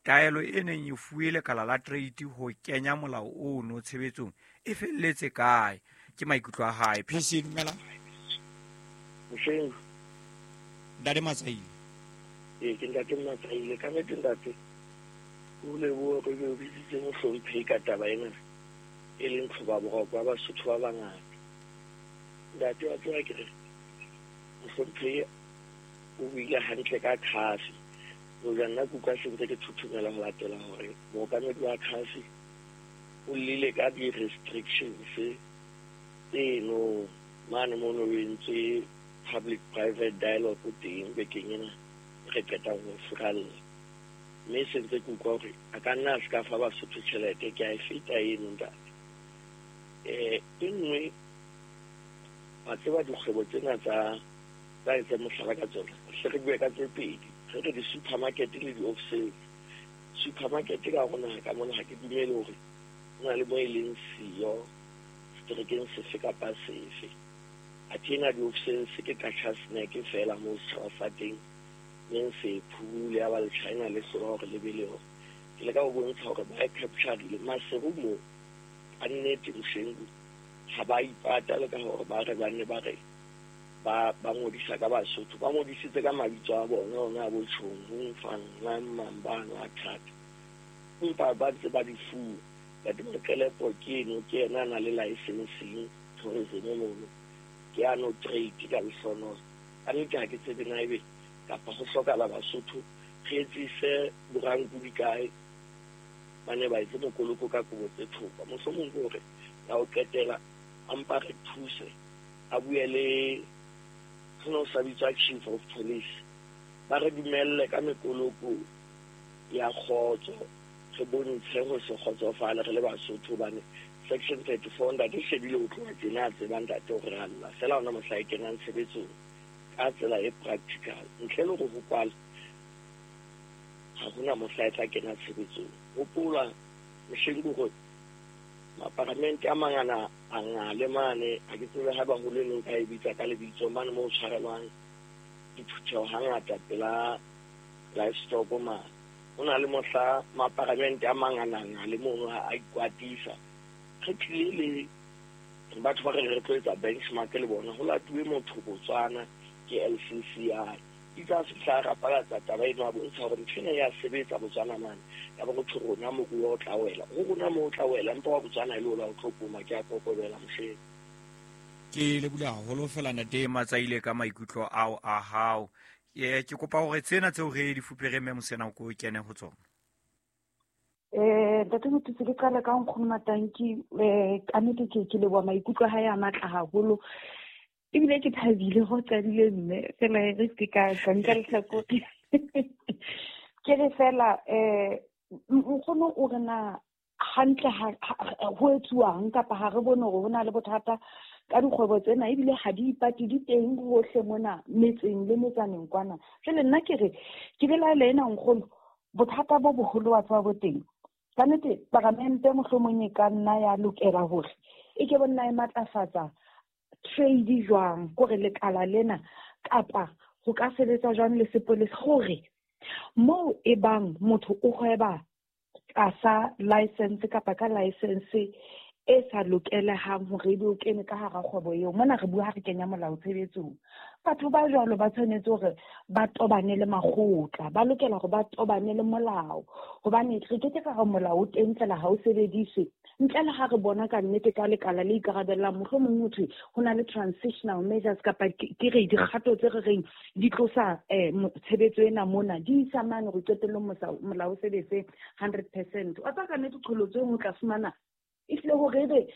taelo e neng e fuwe lekala la trade ho kenya molao ono tshebetsong e felletse kae? Ke maikutlo a hae. PC, dumela. Mosheng. Ntate Matsaile. Ke Ntate Matsaile. Ka nnete ntate, o lebohe re o bitsitse mohlomphehi ka taba ena e leng tlhoba boroko ba Basotho ba bangata. Ntate wa tseba ke re mohlomphehi o buile hantle ka khafi. Hoja nna ke utlwa se ntse ke thothomela ho latela hore mookamedi wa khafi o llile ka di-restrictions tseno mane mono o entswe public private dialogue teng bekeng ena re qetang ho furalla. Mme se ntse ke utlwa hore a ka nna a se ka fa Basotho tjhelete, ke a e feta eno ntate. E nngwe wa tseba dikgwebo tsena tsa etseng mohlala ka tsona, hle re bue ka tse pedi, re re di-supermarket le di-off-sales. Supermarket ka hore naha ka mona ha ke dumele hore ho na le mo e leng siyo seterekeng sefe kapa sefe. Athe ena di-off-sales ke Qacha snack fela moo setjhaba sa teng neng se phumule ya ba le China le hlola hore le be le hore. Ke leka ho bontsha hore ba e capture-ile Maseru moo ka nnete Moshengu ha ba ipata le ka hore ba re ba nne ba re ba ngodisa ka Basotho, ba ngodisitse ka mabitso a bona ona a bo Tjhong, Fang, Mang, Mang, bano a thata, empa ba ntse ba di fuwa. Ntate Maqelepo ke eno, ke yena a na le licensing tourism mono, ke ano trade ka lehlono. Ka nnete ha ke tsebe na ebe kapa ho hlokahala Basotho re etsise boranku di kae, ba ne ba etse mokoloko ka kobo tse thopa. Mohlomong ke hore ya ho qetela a mpa re thuse, a bue le ho ne ho sa bitswa chief of police, ba re dumelle ka mekoloko ya kgotso, re bontshe ho se kgotsofale re le Basotho, hobane section 34 ntate shebile ho tloha tjena a tseba ntate hore re a lla fela hona mohla e kenang tshebetsong ka tsela e practical, ntle le hore ho kwale ha hona mohla e tla kena tshebetsong. Hopola mehleng ke hore maparamente a mangana a ngale mane, ha ke tsebe haeba ho le neng ka e bitsa ka lebitso mane moo tshwarelwang diphutheho hangata pela livestock mane. Ho na le mohla maparamente a mangana ngale mono a ikwatisa. Re tlile le batho ba re re tlo etsa benchmark le bona, ho latuwe motho Botswana ke LCCI. Itse a fihla a rapalatsa taba eno, a bontsha hore ntho ena ya sebetsa Botswana mane. Ya ba ho rona moruo o tla wela, ho rona moo o tla wela, empa wa Botswana e le ola o tlo poma. Ke a kokobela mohleng. Ke lebule haholo fela ntate Matsaile ka maikutlo ao a hao. Ke kopa hore tsena tseo re di fupere mme Mosena ko kene ho tsona. Ntate Motutsi, ke qale ka nkgono Matanki. Ka nnete ke leboha maikutlo a hae a matla haholo, ebile ke thabile go qadile mme fela re se ka ka nka lehlakore. Ke re fela nkgono o re na hantle ho etsuwang kapa ha re bone hore ho na le bothata ka dikgwebo tsena, ebile ha di ipate, di teng hohle mona metseng le metsaneng kwana. Jwale nna ke re ke belaela ena nkgono, bothata bo boholo wa tswa bo teng. Ka nnete paramente mohlomong e ka nna ya lokela hore e ke bo nna e matlafatsa trade jwang, kore lekala lena kapa ho ka sebetsa jwang le sepolesa, hore moo e bang motho o hweba tlasa license kapa ka license e sa lokelehang hore ebe o kene ka hara kgwebo eo. Mona re bua ha re kenya molao tshebetsong, batho ba jwalo ba tshwanetse hore ba tobane le makgotla, ba lokela hore ba tobane le molao, hobane re ke ke ka re molao o teng fela ha o sebediswe ntle le ha re bona ka nnete ka lekala le ikarabellang. Mohlomong ho thwe ho na le transitional measures kapa ke re dikgato tse re reng di tlosa tshebetso ena mona di isa mane hore qetellong molao o sebetse 100%. Wa tseba ka nnete qholotso e nngwe o tla fumana ehlile hore ebe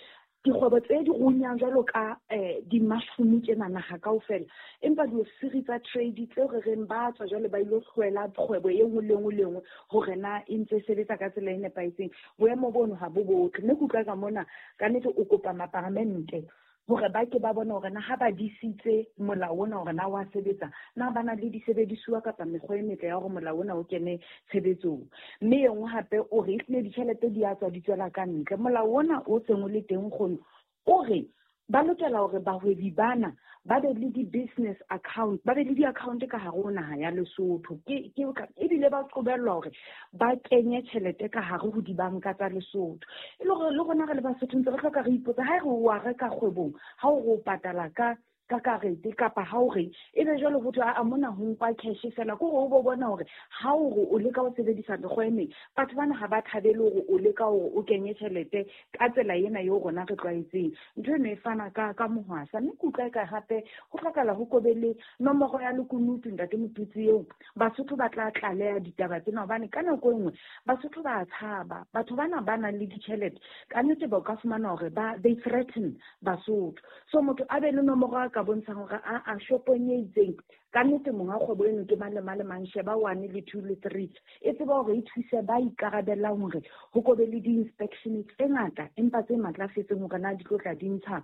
dikgwebo tse di runyang jwalo ka di-mushroom tjena naha kaofela, empa diofisiri tsa trade tseo re reng ba tswa jwale ba ilo hlwela kgwebo e nngwe le nngwe le nngwe hore na e ntse e sebetsa ka tsela e nepahetseng. Boemo bono ha bo botle. Mme ke utlwa ka mona ka nnete o kopa maparamente hore ba ke ba bone hore na ha ba disitse molao ona hore na wa sebetsa, na ba na le disebedisuwa kapa mekgwa e metle ya hore molao ona o kene tshebetsong. Mme e nngwe hape o re ehlile ditjhelete di a tswa di tswela ka ntle. Molao ona o seng o le teng kgono o re ba lokela hore bahwebi bana ba be le di-business account, ba be le di-account ka hare ho naha ya Lesotho. Ebile ba qobellwa hore ba kenye tjhelete ka hare ho dibanka tsa Lesotho. E le hore le rona re le Basotho ntse re hloka re ipotsa, ha re wa reka kgwebong, ha o re o patala ka karete kapa ha o reng, ebe jwale ho thwe, a mona ho nkwa cash fela. Ke hore o bo bona hore ha o re o leka ho sebedisa mekgwa e meng, batho bana ha ba thabele hore o leka hore o kenye tjhelete ka tsela ena eo rona re tlwaetseng. Ntho eno e fana ka mohwasa. Mme ke utlwa eka hape ho hlokahala ho kobe le nomoro ya lekunutu ntate Motutsi eo Basotho ba tla tlaleha ditaba tsena, hobane ka nako e nngwe Basotho ba tshaba. Batho bana ba nang le ditjhelete ka nnete ba ka fumana hore they threaten Basotho. So motho a be le nomoro a ka bontshang hore a shopong e itseng ka nnete monga kgwebo eno ke mang le mang le mang, sheba 1 le 2 le 3. E tseba hore e thuse ba ikarabellang hore ho kobe le di-inspection tse ngata empa tse matlafetseng hore na di tlo tla di ntsha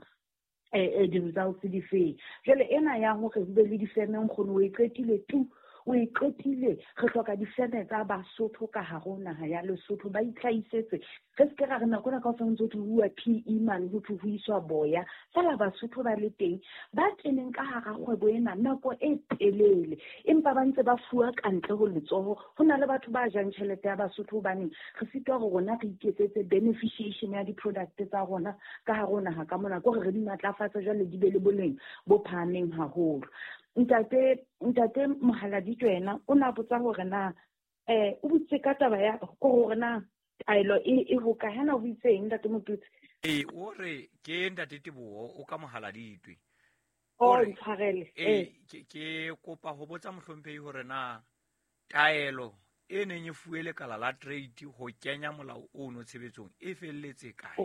di-results di feng. Jwale ena ya hore ho be le difeme nkgono o e qetile tu, o e qetile. Re hloka difeme tsa Basotho ka hare ho naha ya Lesotho, ba itlhahisetse. Re se ke ra re nako ena kaofela ntse ho thwe ho uwa PE mane, ho thwe ho iswa boya. Feela Basotho ba le teng, ba keneng ka hara kgwebo ena nako e telele, empa ba ntse ba fuwa ka ntle ho letsoho. Ho na le batho ba jang tjhelete ya Basotho hobaneng re sitwa hore rona re iketsetse beneficiation ya di-product tsa rona ka hare ho naha ka mona, ke hore re di matlafatse jwale di be le boleng bo phahameng haholo. Ntate Mohaladitwe yena o na botsa hore na o botse ka taba ya hore na Taelo e ho kae? Hana o itseng, Ntate Motutsi? Ee, o re ke Ntate Teboho o ka mohala ditwe. O ntshwarele. Ee, ke kopa ho botsa mohlomphehi hore na taelo e neng e fuwe lekala la trade ho kenya molao ono tshebetsong e felletse kae?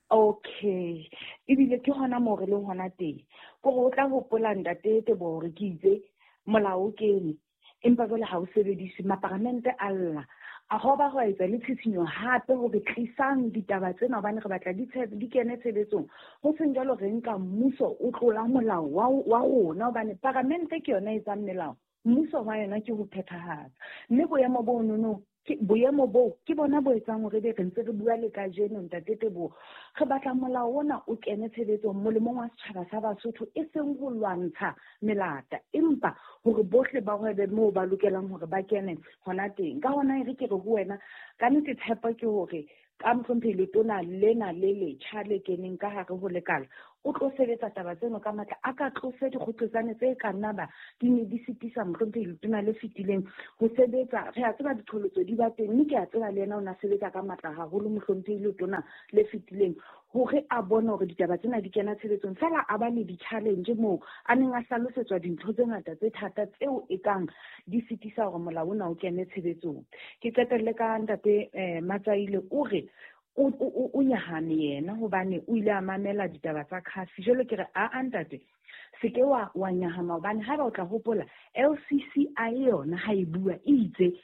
Okay, ebile ke hona moo re leng hona teng. Kore o tla hopola, Ntate Teboho, hore ke itse molao o kene, empa jwale ha o sebediswe. Maparamente a lla, a ho ba ho etsa le tshitshinyo hape hore tlisang ditaba tsena hobane re batla di kene tshebetsong. Ho seng jwalo, re nka mmuso o tlola molao wa rona, hobane paramente ke yona e etsang melao, mmuso wa yona ke ho phethahatsa. Mme boemo bo nono, boemo boo ke bona bo etsang hore be re ntse re bua le kajeno, Ntate Teboho. Re batla molao ona o kene tshebetsong molemong wa setjhaba sa Basotho, e seng ho lwantsha melata, empa hore bohle ba hwebe moo ba lokelang hore ba kene hona teng. Ka hona e re ke re ho wena, ka nnete tshepo ke hore ka mohlomphehi letona lena le letjha le keneng ka hare ho lekala, o tlo sebetsa taba tseno ka matla, a ka tlose dikgoqetsane tse ka nna ba di ne di sitisa mohlomphehi letona le fetileng ho sebetsa. Re a tseba diqholotso di ba teng, mme ke a tseba le yena o na sebetsa ka matla haholo mohlomphehi letona le fetileng hore a bone hore ditaba tsena di kena tshebetsong. Fela a ba le di-challenge moo a neng a hlalosetswa dintho tse ngata tse thata tseo e kang di sitisa hore molao ona o kene tshebetsong. Ke qetelle ka Ntate Matsaile. O re o nyahame yena hobane o ile a mamela ditaba tsa CAFI. Jwale ke re, a ntate, se ke wa nyahama, hobane haeba o tla hopola LCCI yona ha e bua e itse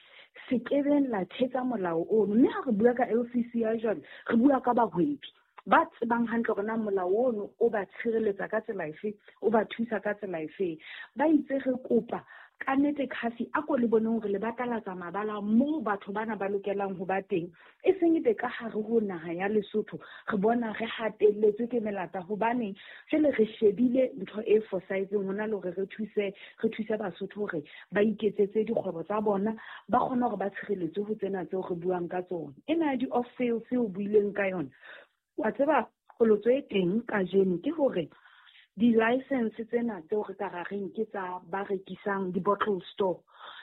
se kebeng la thetsa molao ono. Mme ha re bua ka LCCI jwale, re bua ka bahwebi ba tsebang hantle hore na molao ono o ba tshireletsa ka tsela efe, o ba thusa ka tsela efe. Ba itse re kopa ka nnete CAFI, a ko le boneng hore le batalatsa mabala moo batho bana ba lokelang ho ba teng, e seng ebe ka hare ho naha ya Lesotho re bona re hatelletswe ke melata, hobaneng jwale re shebile ntho e fosahetseng hona le hore re thuse Basotho hore ba iketsetse dikgwebo tsa bona, ba kgone hore ba tshireletswe ho tsena tseo re buang ka tsona. Ena ya di-off sales o buileng ka yona, wa tseba qholotso e teng kajeno ke hore di-license tsena tseo re ka ra reng ke tsa ba rekisang di-bottle store,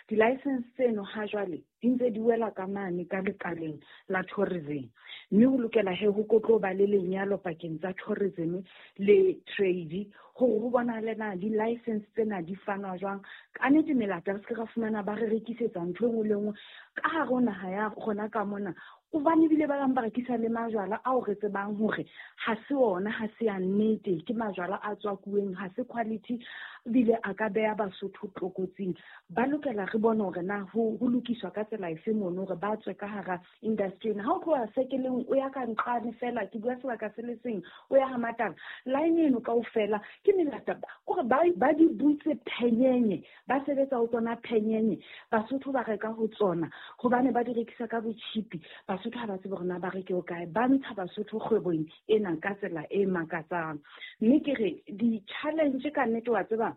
di-license tseno ha jwale di ntse di wela ka mane ka lekaleng la tourism, mme ho lokela he ho tlo ba le lenyalo pakeng tsa tourism le trade hore ho bonahale na di-license tsena di fanwa jwang. Ka nnete melata re se ke ra fumana ba re rekisetsa ntho e nngwe le nngwe ka hare ho naha ya rona ka mona, hobane ebile ba bang ba rekisa le majwala ao re tsebang hore ha se ona, ha se ya nnete, ke majwala a tswakuweng, ha se quality, ebile a ka beha Basotho tlokotsing. Ba lokela re bone hore na ho lokiswa ka tsela efe mono hore ba tswe ka hara industry ena. Ha o tloha sekeleng o ya ka nqane fela, ke bua sebaka se le seng, o ya ha Matala, line eno kaofela ke melata, kore ba di butse phenyenye, ba sebetsa ho tsona phenyenye. Basotho ba reka ho tsona hobane ba di rekisa ka botjhipi. Basotho ha ba tsebe hore na ba reke ho kae, ba ntsha Basotho kgwebong ena ka tsela e makatsang. Mme ke re di-challenge ka nnete, wa tseba,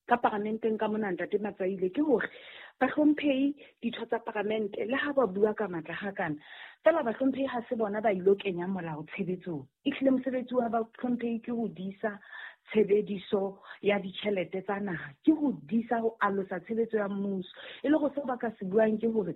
ka paramenteng ka mona, Ntate Matsaile, ke hore bahlomphehi ditho tsa paramente, le ha ba bua ka matla hakana fela, bahlomphehi ha se bona ba ilo kenya molao tshebetsong. Ehlile mosebetsi wa bahlomphehi ke ho disa tshebediso ya ditjhelete tsa naha, ke ho disa ho alosa tshebetso ya mmuso. E le go seo ba ka se buang ke hore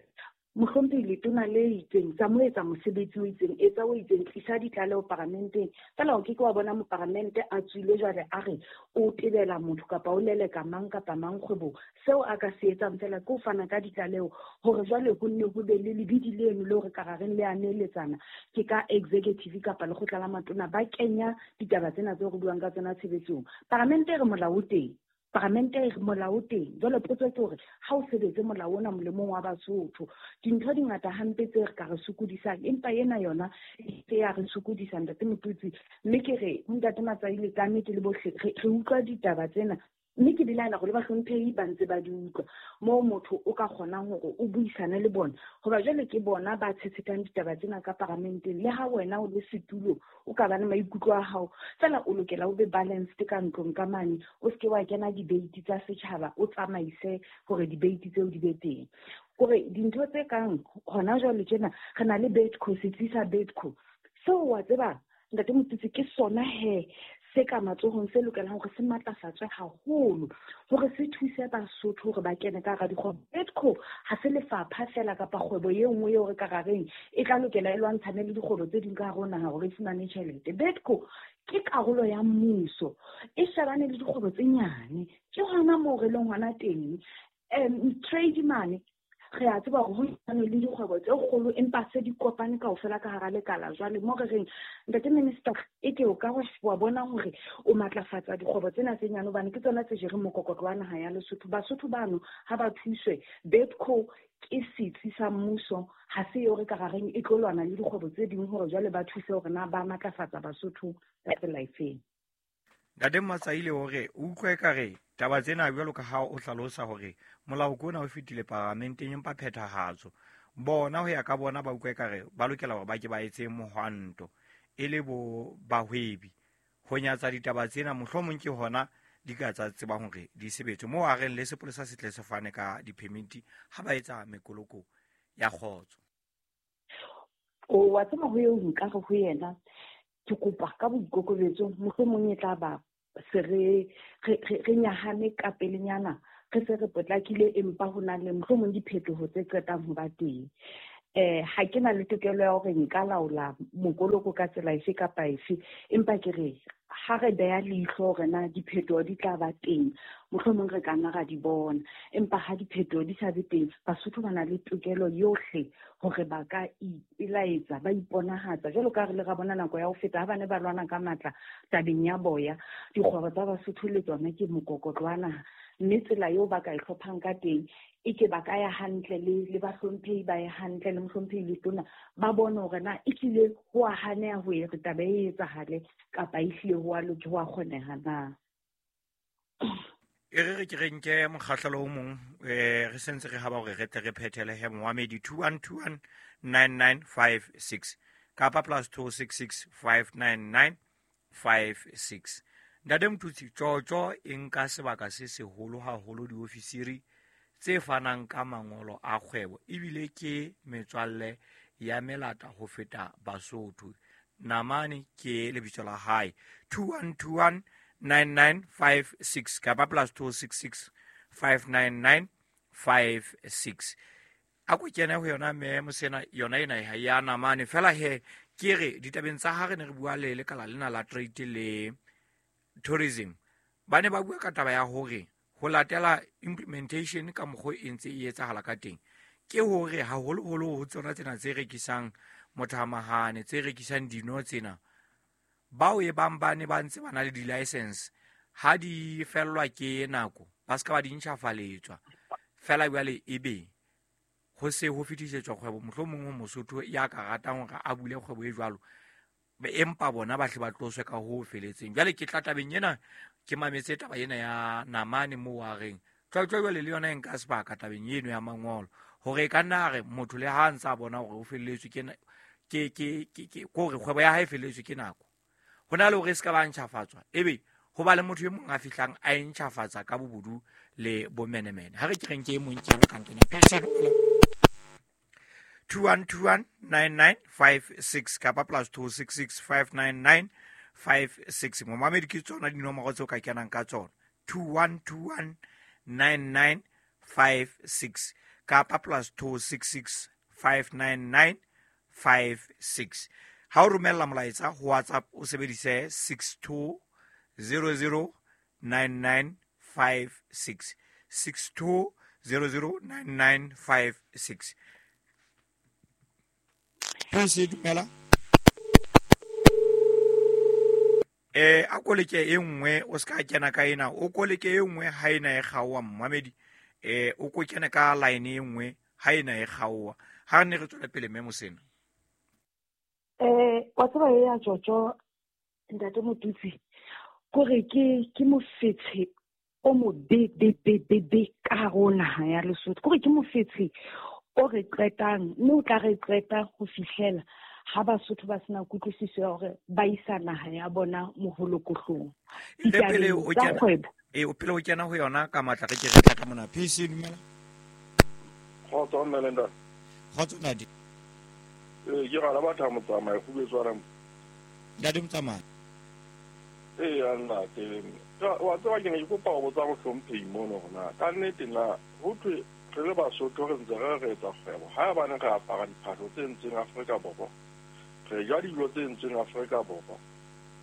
mohlomphehi letona le itseng tsa mo etsa mosebetsi o itseng, etsa o itseng, tlisa ditlaleho paramenteng. Fela o ke ke wa bona moparamente a tswile jwale a re o tebela motho kapa o leleka mang kapa mang kgwebong. Seo a ka se etsang fela ke ho fana ka ditlaleho hore jwale ho nne ho be le lebidi leno le hore ka rareng le a neeletsana ke ka executive kapa lekgotla la matona, ba kenya ditaba tsena tseo re buang ka tsona tshebetsong. Paramente e re molao o teng, paramente e re molao o teng. Jwale potso ke hore ha o sebetse molao ona molemong wa Basotho. Dintho di ngata hampe tse re ka re sokodisang, empa ena yona e ya re sokodisa, Ntate Motutsi. Mme ke re ho Ntate Matsaile, ka nnete le bohle re utlwa ditaba tsena, mme ke belaela hore le bahlomphehi ba ntse ba di utlwa, moo motho o ka kgonang hore o buisane le bona, hoba jwale ke bona ba tshetshethang ditaba tsena ka paramenteng. Le ha wena o le setulo o ka ba le maikutlo a hao fela, o lokela o be balanced ka ntlong ka mane, o seke wa kena debate tsa setjhaba, o tsamaise hore debate tseo di be teng. Kore dintho tse kang hona jwale tjena re na le Betco, setsi sa Betco seo, wa tseba, Ntate Motutsi, ke sona he se ka matsohong se lokelang hore se matlafatswe haholo hore se thuse Basotho hore ba kene ka hara dikgwebo. Bidco ha se lefapha fela kapa kgwebo e nngwe eo re ka ra reng e tla lokela e lwantshane le dikgwebo tse ding ka hare ho naha hore e fumane tjhelete. Bidco ke karolo ya mmuso, e shebane le dikgwebo tse nyane. Ke hona moo re leng hona teng. Trade mane re a tseba hore ho na le dikgwebo tse kgolo empa se di kopane kaofela ka hara lekala. Jwale mo re reng ntate minister, e ke o ka wa bona hore o matlafatsa dikgwebo tsena tse nyane hobane ke tsona tse jereng mokokotlo wa naha ya Lesotho. Basotho bano ha ba thuswe. Bidco ke setsi sa mmuso, ha se eo re ka ra reng e tlo lwana le dikgwebo tse ding hore jwale ba thuse hore na ba matlafatsa Basotho ka tsela efeng. Ntate Matsaile hore o utlwe ka re taba tsena jwalo ka ha o hlalosa hore molao ke ona o fetile paramenteng empa phethahatso bona ho ya ka bona ba utlwe ka re ba lokela hore ba ke ba etse mohwanto e le bo bahwebi ho nyatsa ditaba tsena, mohlomong ke hona di ka tsa tsebang hore di sebetse moo a reng le sepolesa se tle se fane ka di-permit ha ba etsa mekoloko ya kgotso. O wa tseba ho eo nka re ho yena ke kopa ka boikokobetso mohlomong e tla ba se re nyahame ka pelenyana, re se re potlakile empa ho na le mohlomong diphetoho tse qetang ho ba teng. Ha ke na le tokelo ya hore nka laola mokoloko ka tsela efe kapa efe, empa ke re ha re beha leihlo hore na diphetoho di tla ba teng, mohlomong re ka nna ra di bona. Empa ha diphetoho di sa be teng, Basotho ba na le tokelo yohle hore ba ka ipelaetsa, ba iponahatsa. Jwalo ka re le ra bona nako ya ho feta ha ba ne ba lwana ka matla tabeng ya boya, dikgwebo tsa Basotho le tsona ke mokokotlo wa naha. Mme tsela eo ba ka e hlomphang ka teng e ke ba ka ya hantle le bahlomphehi ba ye hantle le mohlomphehi le tona ba bone hore na e hlile ho a haneha ho re taba e etsahale kapa e hlile ho a loke ho a kgoneha na. E re ke re nke mokgahlelo o mong, re sentse re haba hore re tle re phethele he moamedi 2121 9956 kapa +266 599 56. Ntate Mothusi, tjotjo e nka sebaka se seholo haholo diofisiri tse fanang ka mangolo a kgwebo ebile ke metswalle ya melata ho feta Basotho. Namane ke lebitso la hae. 2121 9956 kapa +266 599 56. A ko kene ho yona mme mosena yona ena ya Namane fela he ke re ditabeng tsa ha re ne re bua le lekala lena la trade le tourism, ba ne ba bua ka taba ya hore ho latela implementation ka mokgwa e ntse e etsahala ka teng ke hore haholoholo ho tsona tsena tse rekisang mothamahane, tse rekisang dino tsena, bao e bang ba ne ba ntse ba na le di-license ha di fellwa ke nako ba se ka ba di ntjhafaletswa fela jwale ebe ho se ho fetisetswa kgwebo mohlomong ho Mosotho ya ka ratang hore a bule kgwebo e jwalo, empa bona ba hle ba tloswe ka ho feletseng. Jwale ke tla tabeng ena, ke mametse taba ena ya Namane moo a reng tlwatlwa jwale le yona e nka sebaka tabeng eno ya mangolo hore e ka nna re motho le ha ntse a bona hore o felletswe ke hore kgwebo ya hae e felletswe ke nako, ho na le hore e se ka ba ntjhafatswa ebe ho ba le motho e mong a fihlang a e ntjhafatsa ka bobodu le bomenemene. Ha re ke reng ke e mong ke ka nkena 2121 9956 kapa +266 599 56. Momamedi ke tsona dinomoro tseo ka kenang ka tsona 2121 9956 kapa +266 599 56. Ha o romella molaetsa ho WhatsApp o sebedise 6200 9956 6200 9956. Prince dumela. A koleke e nngwe o ska kena ka ena, o koleke e nngwe ha ena e kgaoa mmamedi, o ko kena ka line e nngwe ha ena e kgaoa. Ha ne re tswela pele mme Mosena. Wa tseba e ya tjotjo ntate Motutsi kore ke mofetshe o mo be be be be be ka hare ho naha ya Lesotho, kore ke mofetshe o re qetang mme o tla re qeta ho fihlela ha Basotho ba sena kutlwisiso ya hore ba isa naha ya bona moholokohlong. Pele o kena o pele o kena ho yona ka matla re ke re tla ka mona. PC dumela. Kgotso mme le ntate. Kgotso ntate. Ke rala batho ba motsamai go betswa ramo. Ntate motsamai. Ee, ntate. Wa tseba ke ne ke kopa ho botsa mohlomphehi mono hore na ka nnete na ho thwe re le Basotho re ntse re re etsa kgwebo haebane re apara diphahlo tse entsweng Afrika Borwa, re ja dijo tse entsweng Afrika Borwa,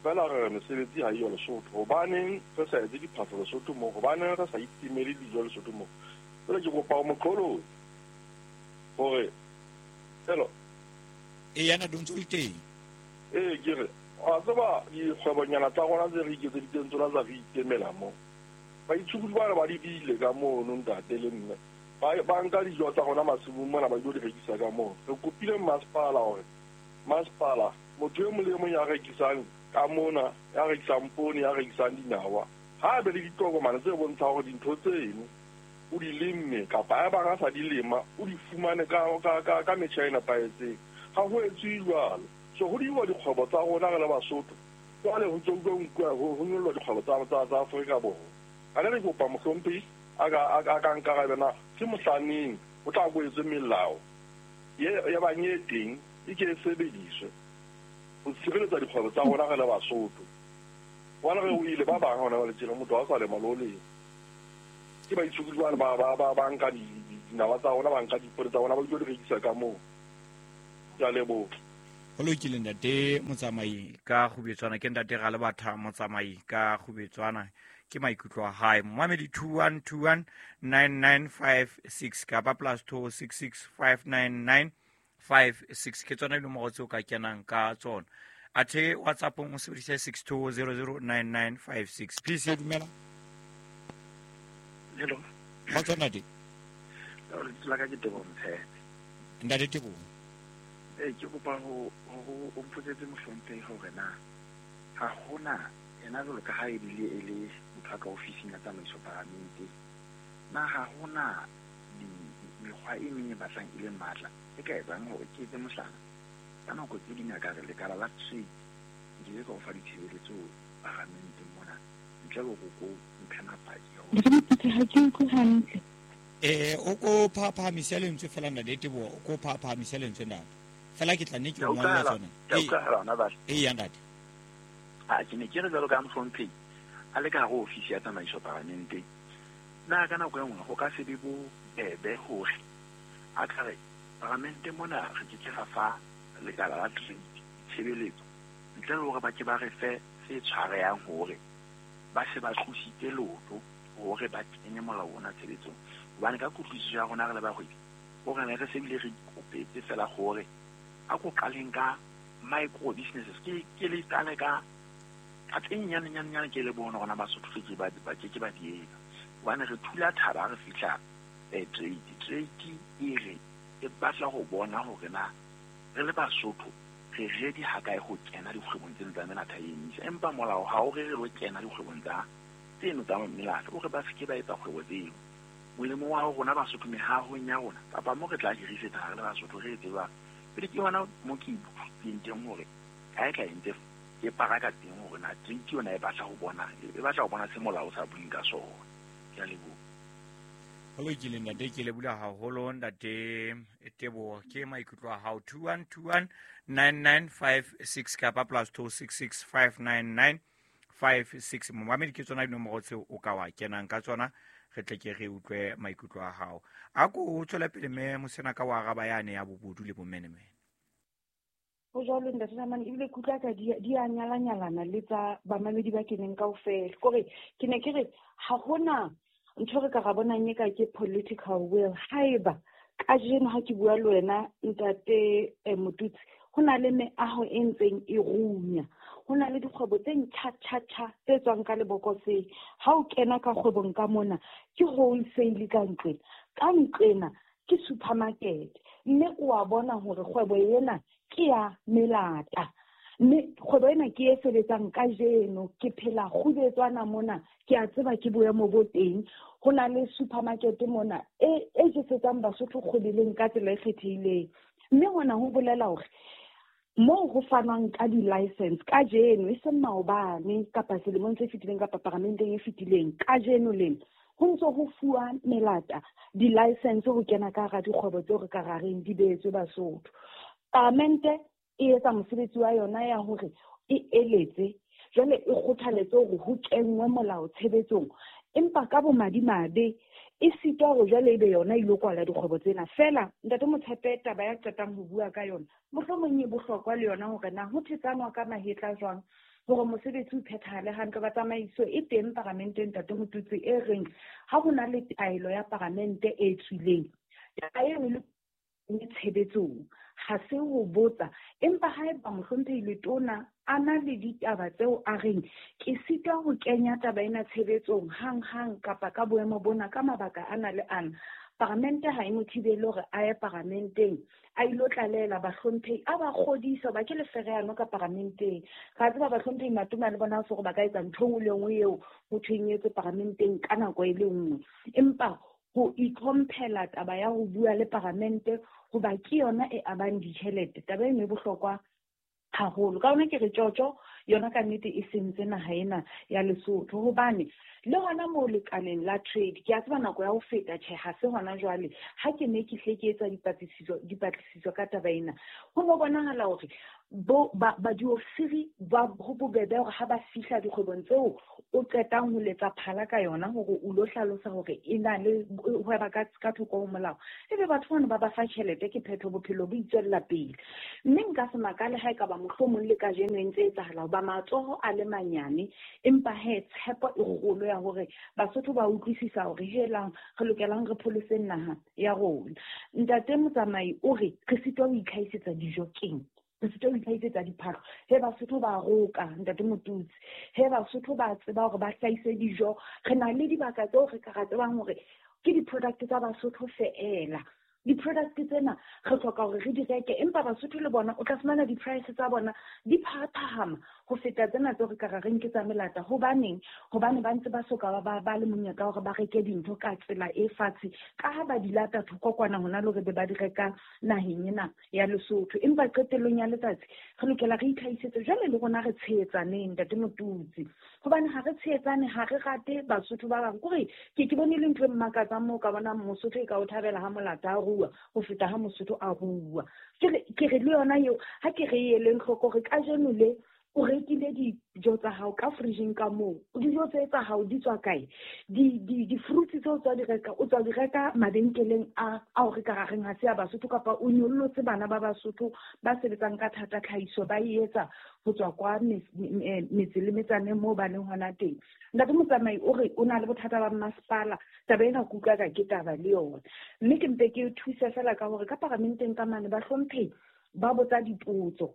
fela re re mesebetsi ha eyo Lesotho. Hobaneng re sa etse diphahlo Lesotho moo? Hobaneng re sa itemele dijo Lesotho moo? Jwale ke kopa ho moqolotsi hore hello. Ee, ntate, o ntse o le teng. Ee, ke re wa tseba dikgwebonyana tsa rona tse re iketseditseng tsona tsa re itemela mo. Baitshokodi bana ba di bile ka mono ntate le mme. Ba nka dijo tsa rona masimong mona ba ilo di rekisa ka moo. Re kopile masepala hore masepala motho e mong le e mong ya rekisang ka mona, ya rekisang poone, ya rekisang dinawa, ha a be le ditokomane tse bontshang hore dintho tseno o di lemme kapa haebang a sa di lema o di fumane ka metjha e nepahetseng. Ha ho etswe jwalo. So ho diuwa dikgwebo tsa rona re le Basotho. Jwale ho ntse ho nkuwa ho nyollwa dikgwebo tsa Afrika Borwa. Ha ne re kopa mohlomphehi a ka nkarabe na ke mohlaneng ho tla ko etswe melao ye bang e teng e ke e sebediswe ho tshireletsa dikgwebo tsa rona re le Basotho. Hobane re wele ba bang hona jwale tjena motho ha o sa lema le ho lema. Ke baitshokodi bane ba nka dinawa tsa rona, ba nka dipone tsa rona ba ilo di rekisa ka moo. Ke a leboha. Ho lokile ntate Motsamai ka Kgubetswana, ke ntate Ralebatha Motsamai ka Kgubetswana, ke maikutlo a hae. Momamedi 21219956 kapa plus 26659956 ke tsona dinomoro tseo ka kenang ka tsona. Athe WhatsApp-ong o sebedise 62009956. Please, dumela. Hello. Kgotso ntate. Lebitso la ka ke Teboho Mtshepe. Ntate Teboho. Ee, ke kopa ho o mpotsetse mohlomphehi hore na ha hona yena jwalo ka ha ebile e le motho a ka ofising ya tsamaiso paramente, na ha hona mekgwa e meng e batlang e le matla e ka etsang hore ke etse mohlala? Ka nako tse ding a ka re lekala la trade nke ke ka o fa ditshebeletso paramenteng mona ntle le hore ko mphe mapaki a hore. Ha ke utlwe hantle. O ko phahamisele lentswe fela ntate Teboho, o ko phahamisele lentswe ntate. Fela ke tla nne ke o ngolla tsona. Ee, ya ntate. A ke ne ke re jwalo ka mohlomphehi a le ka hare ho ofisi ya tsamaiso paramenteng, na ka nako e nngwe ho ka se be bobebe hore a ka re paramente mona re ke ke ra fa lekala la trade tshebeletso ntle le hore ba ke ba re fe se tshwarehang hore ba se ba tlositse leoto hore ba kenye molao ona tshebetsong. Hobane ka kutlwisiso ya rona re le bahwebi, hore ne re se bile re ikopetse fela hore a ko qaleng ka micro businesses, ke le qale ka tse nyane nyane nyane ke le bone rona Basotho re ke ba ke ba di etsa. Hobane re thula thaba re fihla trade e re e batla ho bona hore na re le Basotho re ready ha kae ho kena dikgwebong tseno tsa melata e emisa. Empa molao ha o re re lo kena dikgwebong tsa tseno tsa melata, o re ba seke ba etsa kgwebo tseo. Molemo wa rona Basotho mehahong ya rona kapa mo re tla hirisetsa re le Basotho re etse jwang. Pele ke hona mo ke ikutlwileng teng hore kae kae ntse ke paraka teng hore na trade yona e batla ho bona, e batla ho bona se molao o sa bueng ka sona. Ke a leboha. Ho lokile ntate, ke leboha haholo ntate Teboho, ke maikutlo a hao. 21219956 kapa plus 26659956. Momamedi ke tsona dinomoro tseo o ka wa kenang ka tsona, re tle ke re utlwe maikutlo a hao. A ko tswele pele mme Mosena ka wa araba yane ya bobodu le bomenemene. Ho jwalo ntate Namane, ebile ke utlwa ka di a nyalanyalana le tsa bamamedi ba keneng kaofela. Kore ke ne ke re ha hona ntho re ka ra bonang e ka ke political will. Haeba kajeno ha ke bua le wena ntate Motutsi, ho na le meaho e ntseng e runya, ho na le dikgwebo tse ntjha-tjha-tjha tse tswang ka lebokoseng. Ha o kena ka kgwebong ka mona ke wholesale ka ntlwena, ka ntlwena ke supermarket, mme o a bona hore kgwebo ena ke ya melata, mme kgwebo ena ke e sebetsang kajeno. Ke phela Kgubetswana mona, ke a tseba ke boemo bo teng. Ho na le supermarket mona e jesetsang Basotho kgwebeleng ka tsela e kgethehileng, mme hona ho bolela hore moo ho fanwang ka di-license kajeno, e seng maobane kapa selemong se fetileng kapa paramenteng e fetileng, kajeno lena ho ntso ho fuwa melata di-license ho kena ka hara dikgwebo tseo re ka ra reng di beetswe Basotho. Paramente e etsa mosebetsi wa yona ya hore e eletse Jwale e kgothaletse hore ho kenngwe molao tshebetsong, empa ka bomadimabe e sitwa hore jwale ebe yona e ilo kwala dikgwebo tsena. Feela Ntate Motshepe, taba ya qetang ho bua ka yona mohlomong e bohlokwa le yona hore na ho thetsanwa ka mahetla jwang hore mosebetsi o phethahale hantle. Ba tsamaiso e teng paramenteng, Ntate Motutsi, e reng ha ho na le taelo ya paramente e tswileng, taba eno le tshebetsong, ha se ho botsa. Empa haeba mohlomphehi Letona a na le ditaba tseo a reng ke sitwa ho kenya taba ena tshebetsong hang-hang kapa ka boemo bona ka mabaka ana le ana, paramente ha e mo thibele hore a ye paramenteng a ilo tlalela bahlomphehi, a ba kgodisa ba ke lefereano ka paramenteng. Ga tseba bahlomphehi matona le bona se gore ba ka etsa ntho e nngwe le nngwe eo ho thweng e etswe paramenteng ka nako e le nngwe, empa ho itlhomphela taba ya ho bua le paramente hoba ke yona e abang ditjhelete, taba eno e bohlokwa haholo. Ka hona ke re tjotjo yona ka nnete e sentse naha ena ya Lesotho, hobane le hona moo lekaleng la trade, ke a tseba nako ya ho feta, tjhe ha se hona jwale, ha ke ne ke hle ke etsa dipatlisiso ka taba ena, ho no bonahala hore ba diofisiri ba ho bobebe hore ha ba fihla dikgwebong tseo o qetang ho letsa phala ka yona hore o lo hlalosa hore e na le hweba ka thoko ho molao, ebe batho bano ba ba fa tjhelete, ke phetho, bophelo bo itswella pele. Mme nka se makale ha ekaba mohlomong le kajeno e ntse etsahala hoba matsoho a le manyane, empa he tshepo e kgolo ya hore Basotho ba utlwisisa hore helang re lokelang re pholoseng naha ya rona. Ntate Motsamai o re re sitwa ho itlhahisetsa dijo keng? Re sitwa ho itlhahisetsa diphahlo. He Basotho ba roka, Ntate Motutsi. He Basotho ba tseba hore ba hlahise dijo. Re na le dibaka tseo re ka ra tsebang hore ke di-product tsa Basotho feela. Di-product tsena re hloka hore re di reke, empa Basotho le bona o tla fumana di-price tsa bona di phahaphahama ho feta tsena tseo re ka ra reng ke tsa melata. Hobaneng? Hobane ba ntse ba soka ba le monyetla hore ba reke dintho ka tsela e fatshe, ka ha ba di lata thoko kwana hona le hore be ba di reka naheng ena ya Lesotho. Empa qetellong ya letsatsi re lokela re itlhahisetse jwale le rona re tshehetsaneng, Ntate Motutsi, hobane ha re tshehetsane, ha re rate Basotho ba bang. Kore ke bone le ntho e mmakatsang moo ka bonang Mosotho e ka o thabela ha molata a rua ho feta ha Mosotho a rua. Ke re le yona eo ha ke re eleng hloko hore kajeno le o rekile dijo tsa hao ka fridgeng ka moo, dijo tse tsa hao di tswa kae? Di-fruits tseo tswa di reka, o tswa di reka mabenkeleng a ao re ka ra reng ha se a Basotho, kapa o nyollotse bana ba Basotho ba sebetsang ka thata tlhahiso ba e etsa ho tswa kwa metse le metsaneng moo ba leng hona teng. Ntate Motsamai o re o na le bothata ba masepala, taba ena ke utlwa ka ke taba le yona. Mme ke mpe ke thuse fela ka hore ka paramenteng ka mane bahlomphehi ba botsa dipotso,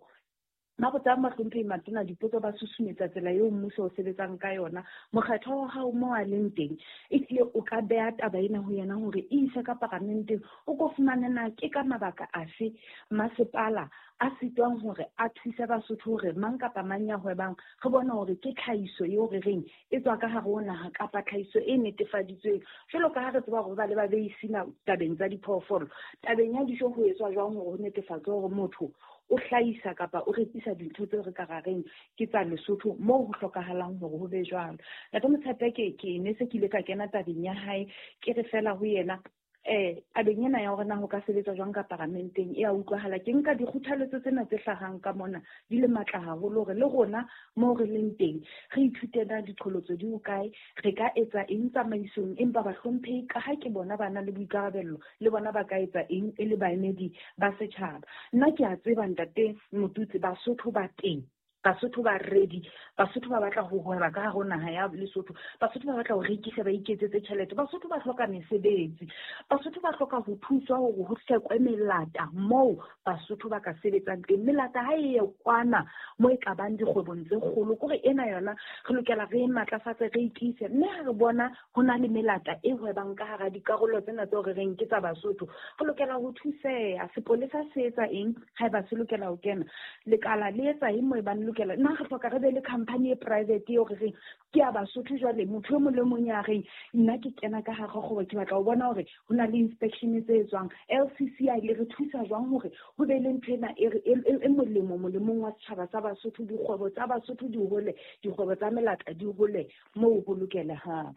ba botsa bahlomphehi matona dipotso, ba susumetsa tsela eo mmuso o sebetsang ka yona. Mokgatlo wa hao moo a leng teng, ehlile o ka beha taba ena ho yena hore e ise ka paramenteng, o ko fumane na ke ka mabaka afe masepala a sitwang hore a thuse Basotho hore mang kapa mang ya hwebang re bone hore ke tlhahiso eo re reng e tswa ka hare ho naha kapa tlhahiso e netefaditsweng. Jwalo ka ha re tseba hore ba le ba beisina tabeng tsa diphoofolo, tabeng ya dijo ho etswa jwang hore ho netefatswe hore motho o hlahisa kapa o rekisa dintho tseo re ka ra reng ke tsa Lesotho moo ho hlokahalang hore ho be jwalo. Ntate Motshepe, ke ne se ke ile ka kena tabeng ya hae, ke re fela ho yena tabeng ena ya hore na ho ka sebetswa jwang ka paramenteng e a utlwahala. Ke nka dikgothaletso tsena tse hlahang ka mona di le matla haholo hore le rona moo re leng teng re ithute na diqholotso di hokae, re ka etsa eng tsamaisong, empa bahlomphehi ka ha ke bona ba na le boikarabello le bona ba ka etsa eng e le baemedi ba setjhaba. Nna ke a tseba Ntate Motutsi, Basotho ba teng, Basotho ba ready, Basotho ba batla ho hweba ka hare ho naha ya Lesotho, Basotho ba batla ho rekisa ba iketsetse tjhelete, Basotho ba hloka mesebetsi, Basotho ba hloka ho thuswa hore ho hlekwe melata moo Basotho ba ka sebetsang teng. Melata ha e ye kwana moo e ka bang dikgwebong tse kgolo, kore ena yona re lokela re e matlafatse, re itiise. Mme ha re bona ho na le melata e hwebang ka hara dikarolo tsena tseo re reng ke tsa Basotho, re lokela ho thuseha. Sepolesa se etsa eng haeba se lokela ho kena? Lekala le etsa eng moo e bang lokela? Nna re hloka re be le company e private eo re reng ke ya Basotho. Jwale motho e mong le mong ya reng nna ke kena ka hara kgwebo, ke batla ho bona hore ho na le inspection tse etswang. LCCI le re thusa jwang hore ho be le ntho ena e molemo molemong wa setjhaba sa Basotho, dikgwebo tsa Basotho di hole, dikgwebo tsa melata di hole moo ho lokelehang.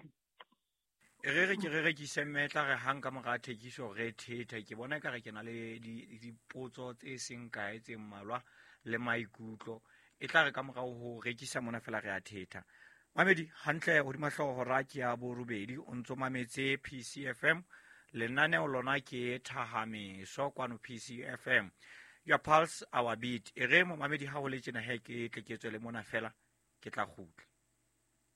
Re re ke re rekise mmetla re hang ka mora thekiso re thetha. Ke bona ekare ke na le dipotso tse seng kae tse mmalwa le maikutlo. E tla re ka morao ho rekisa mona fela re a thetha. Mamedi, hantle hodima hlooho hora ke ya borobedi, o ntso mametse PCFM. Lenaneo lona ke Thahameso kwano PCFM. Your pulse, our beat. E re momamedi ha ho le tjena he ke tle ke tswele mona fela, ke tla kgutla.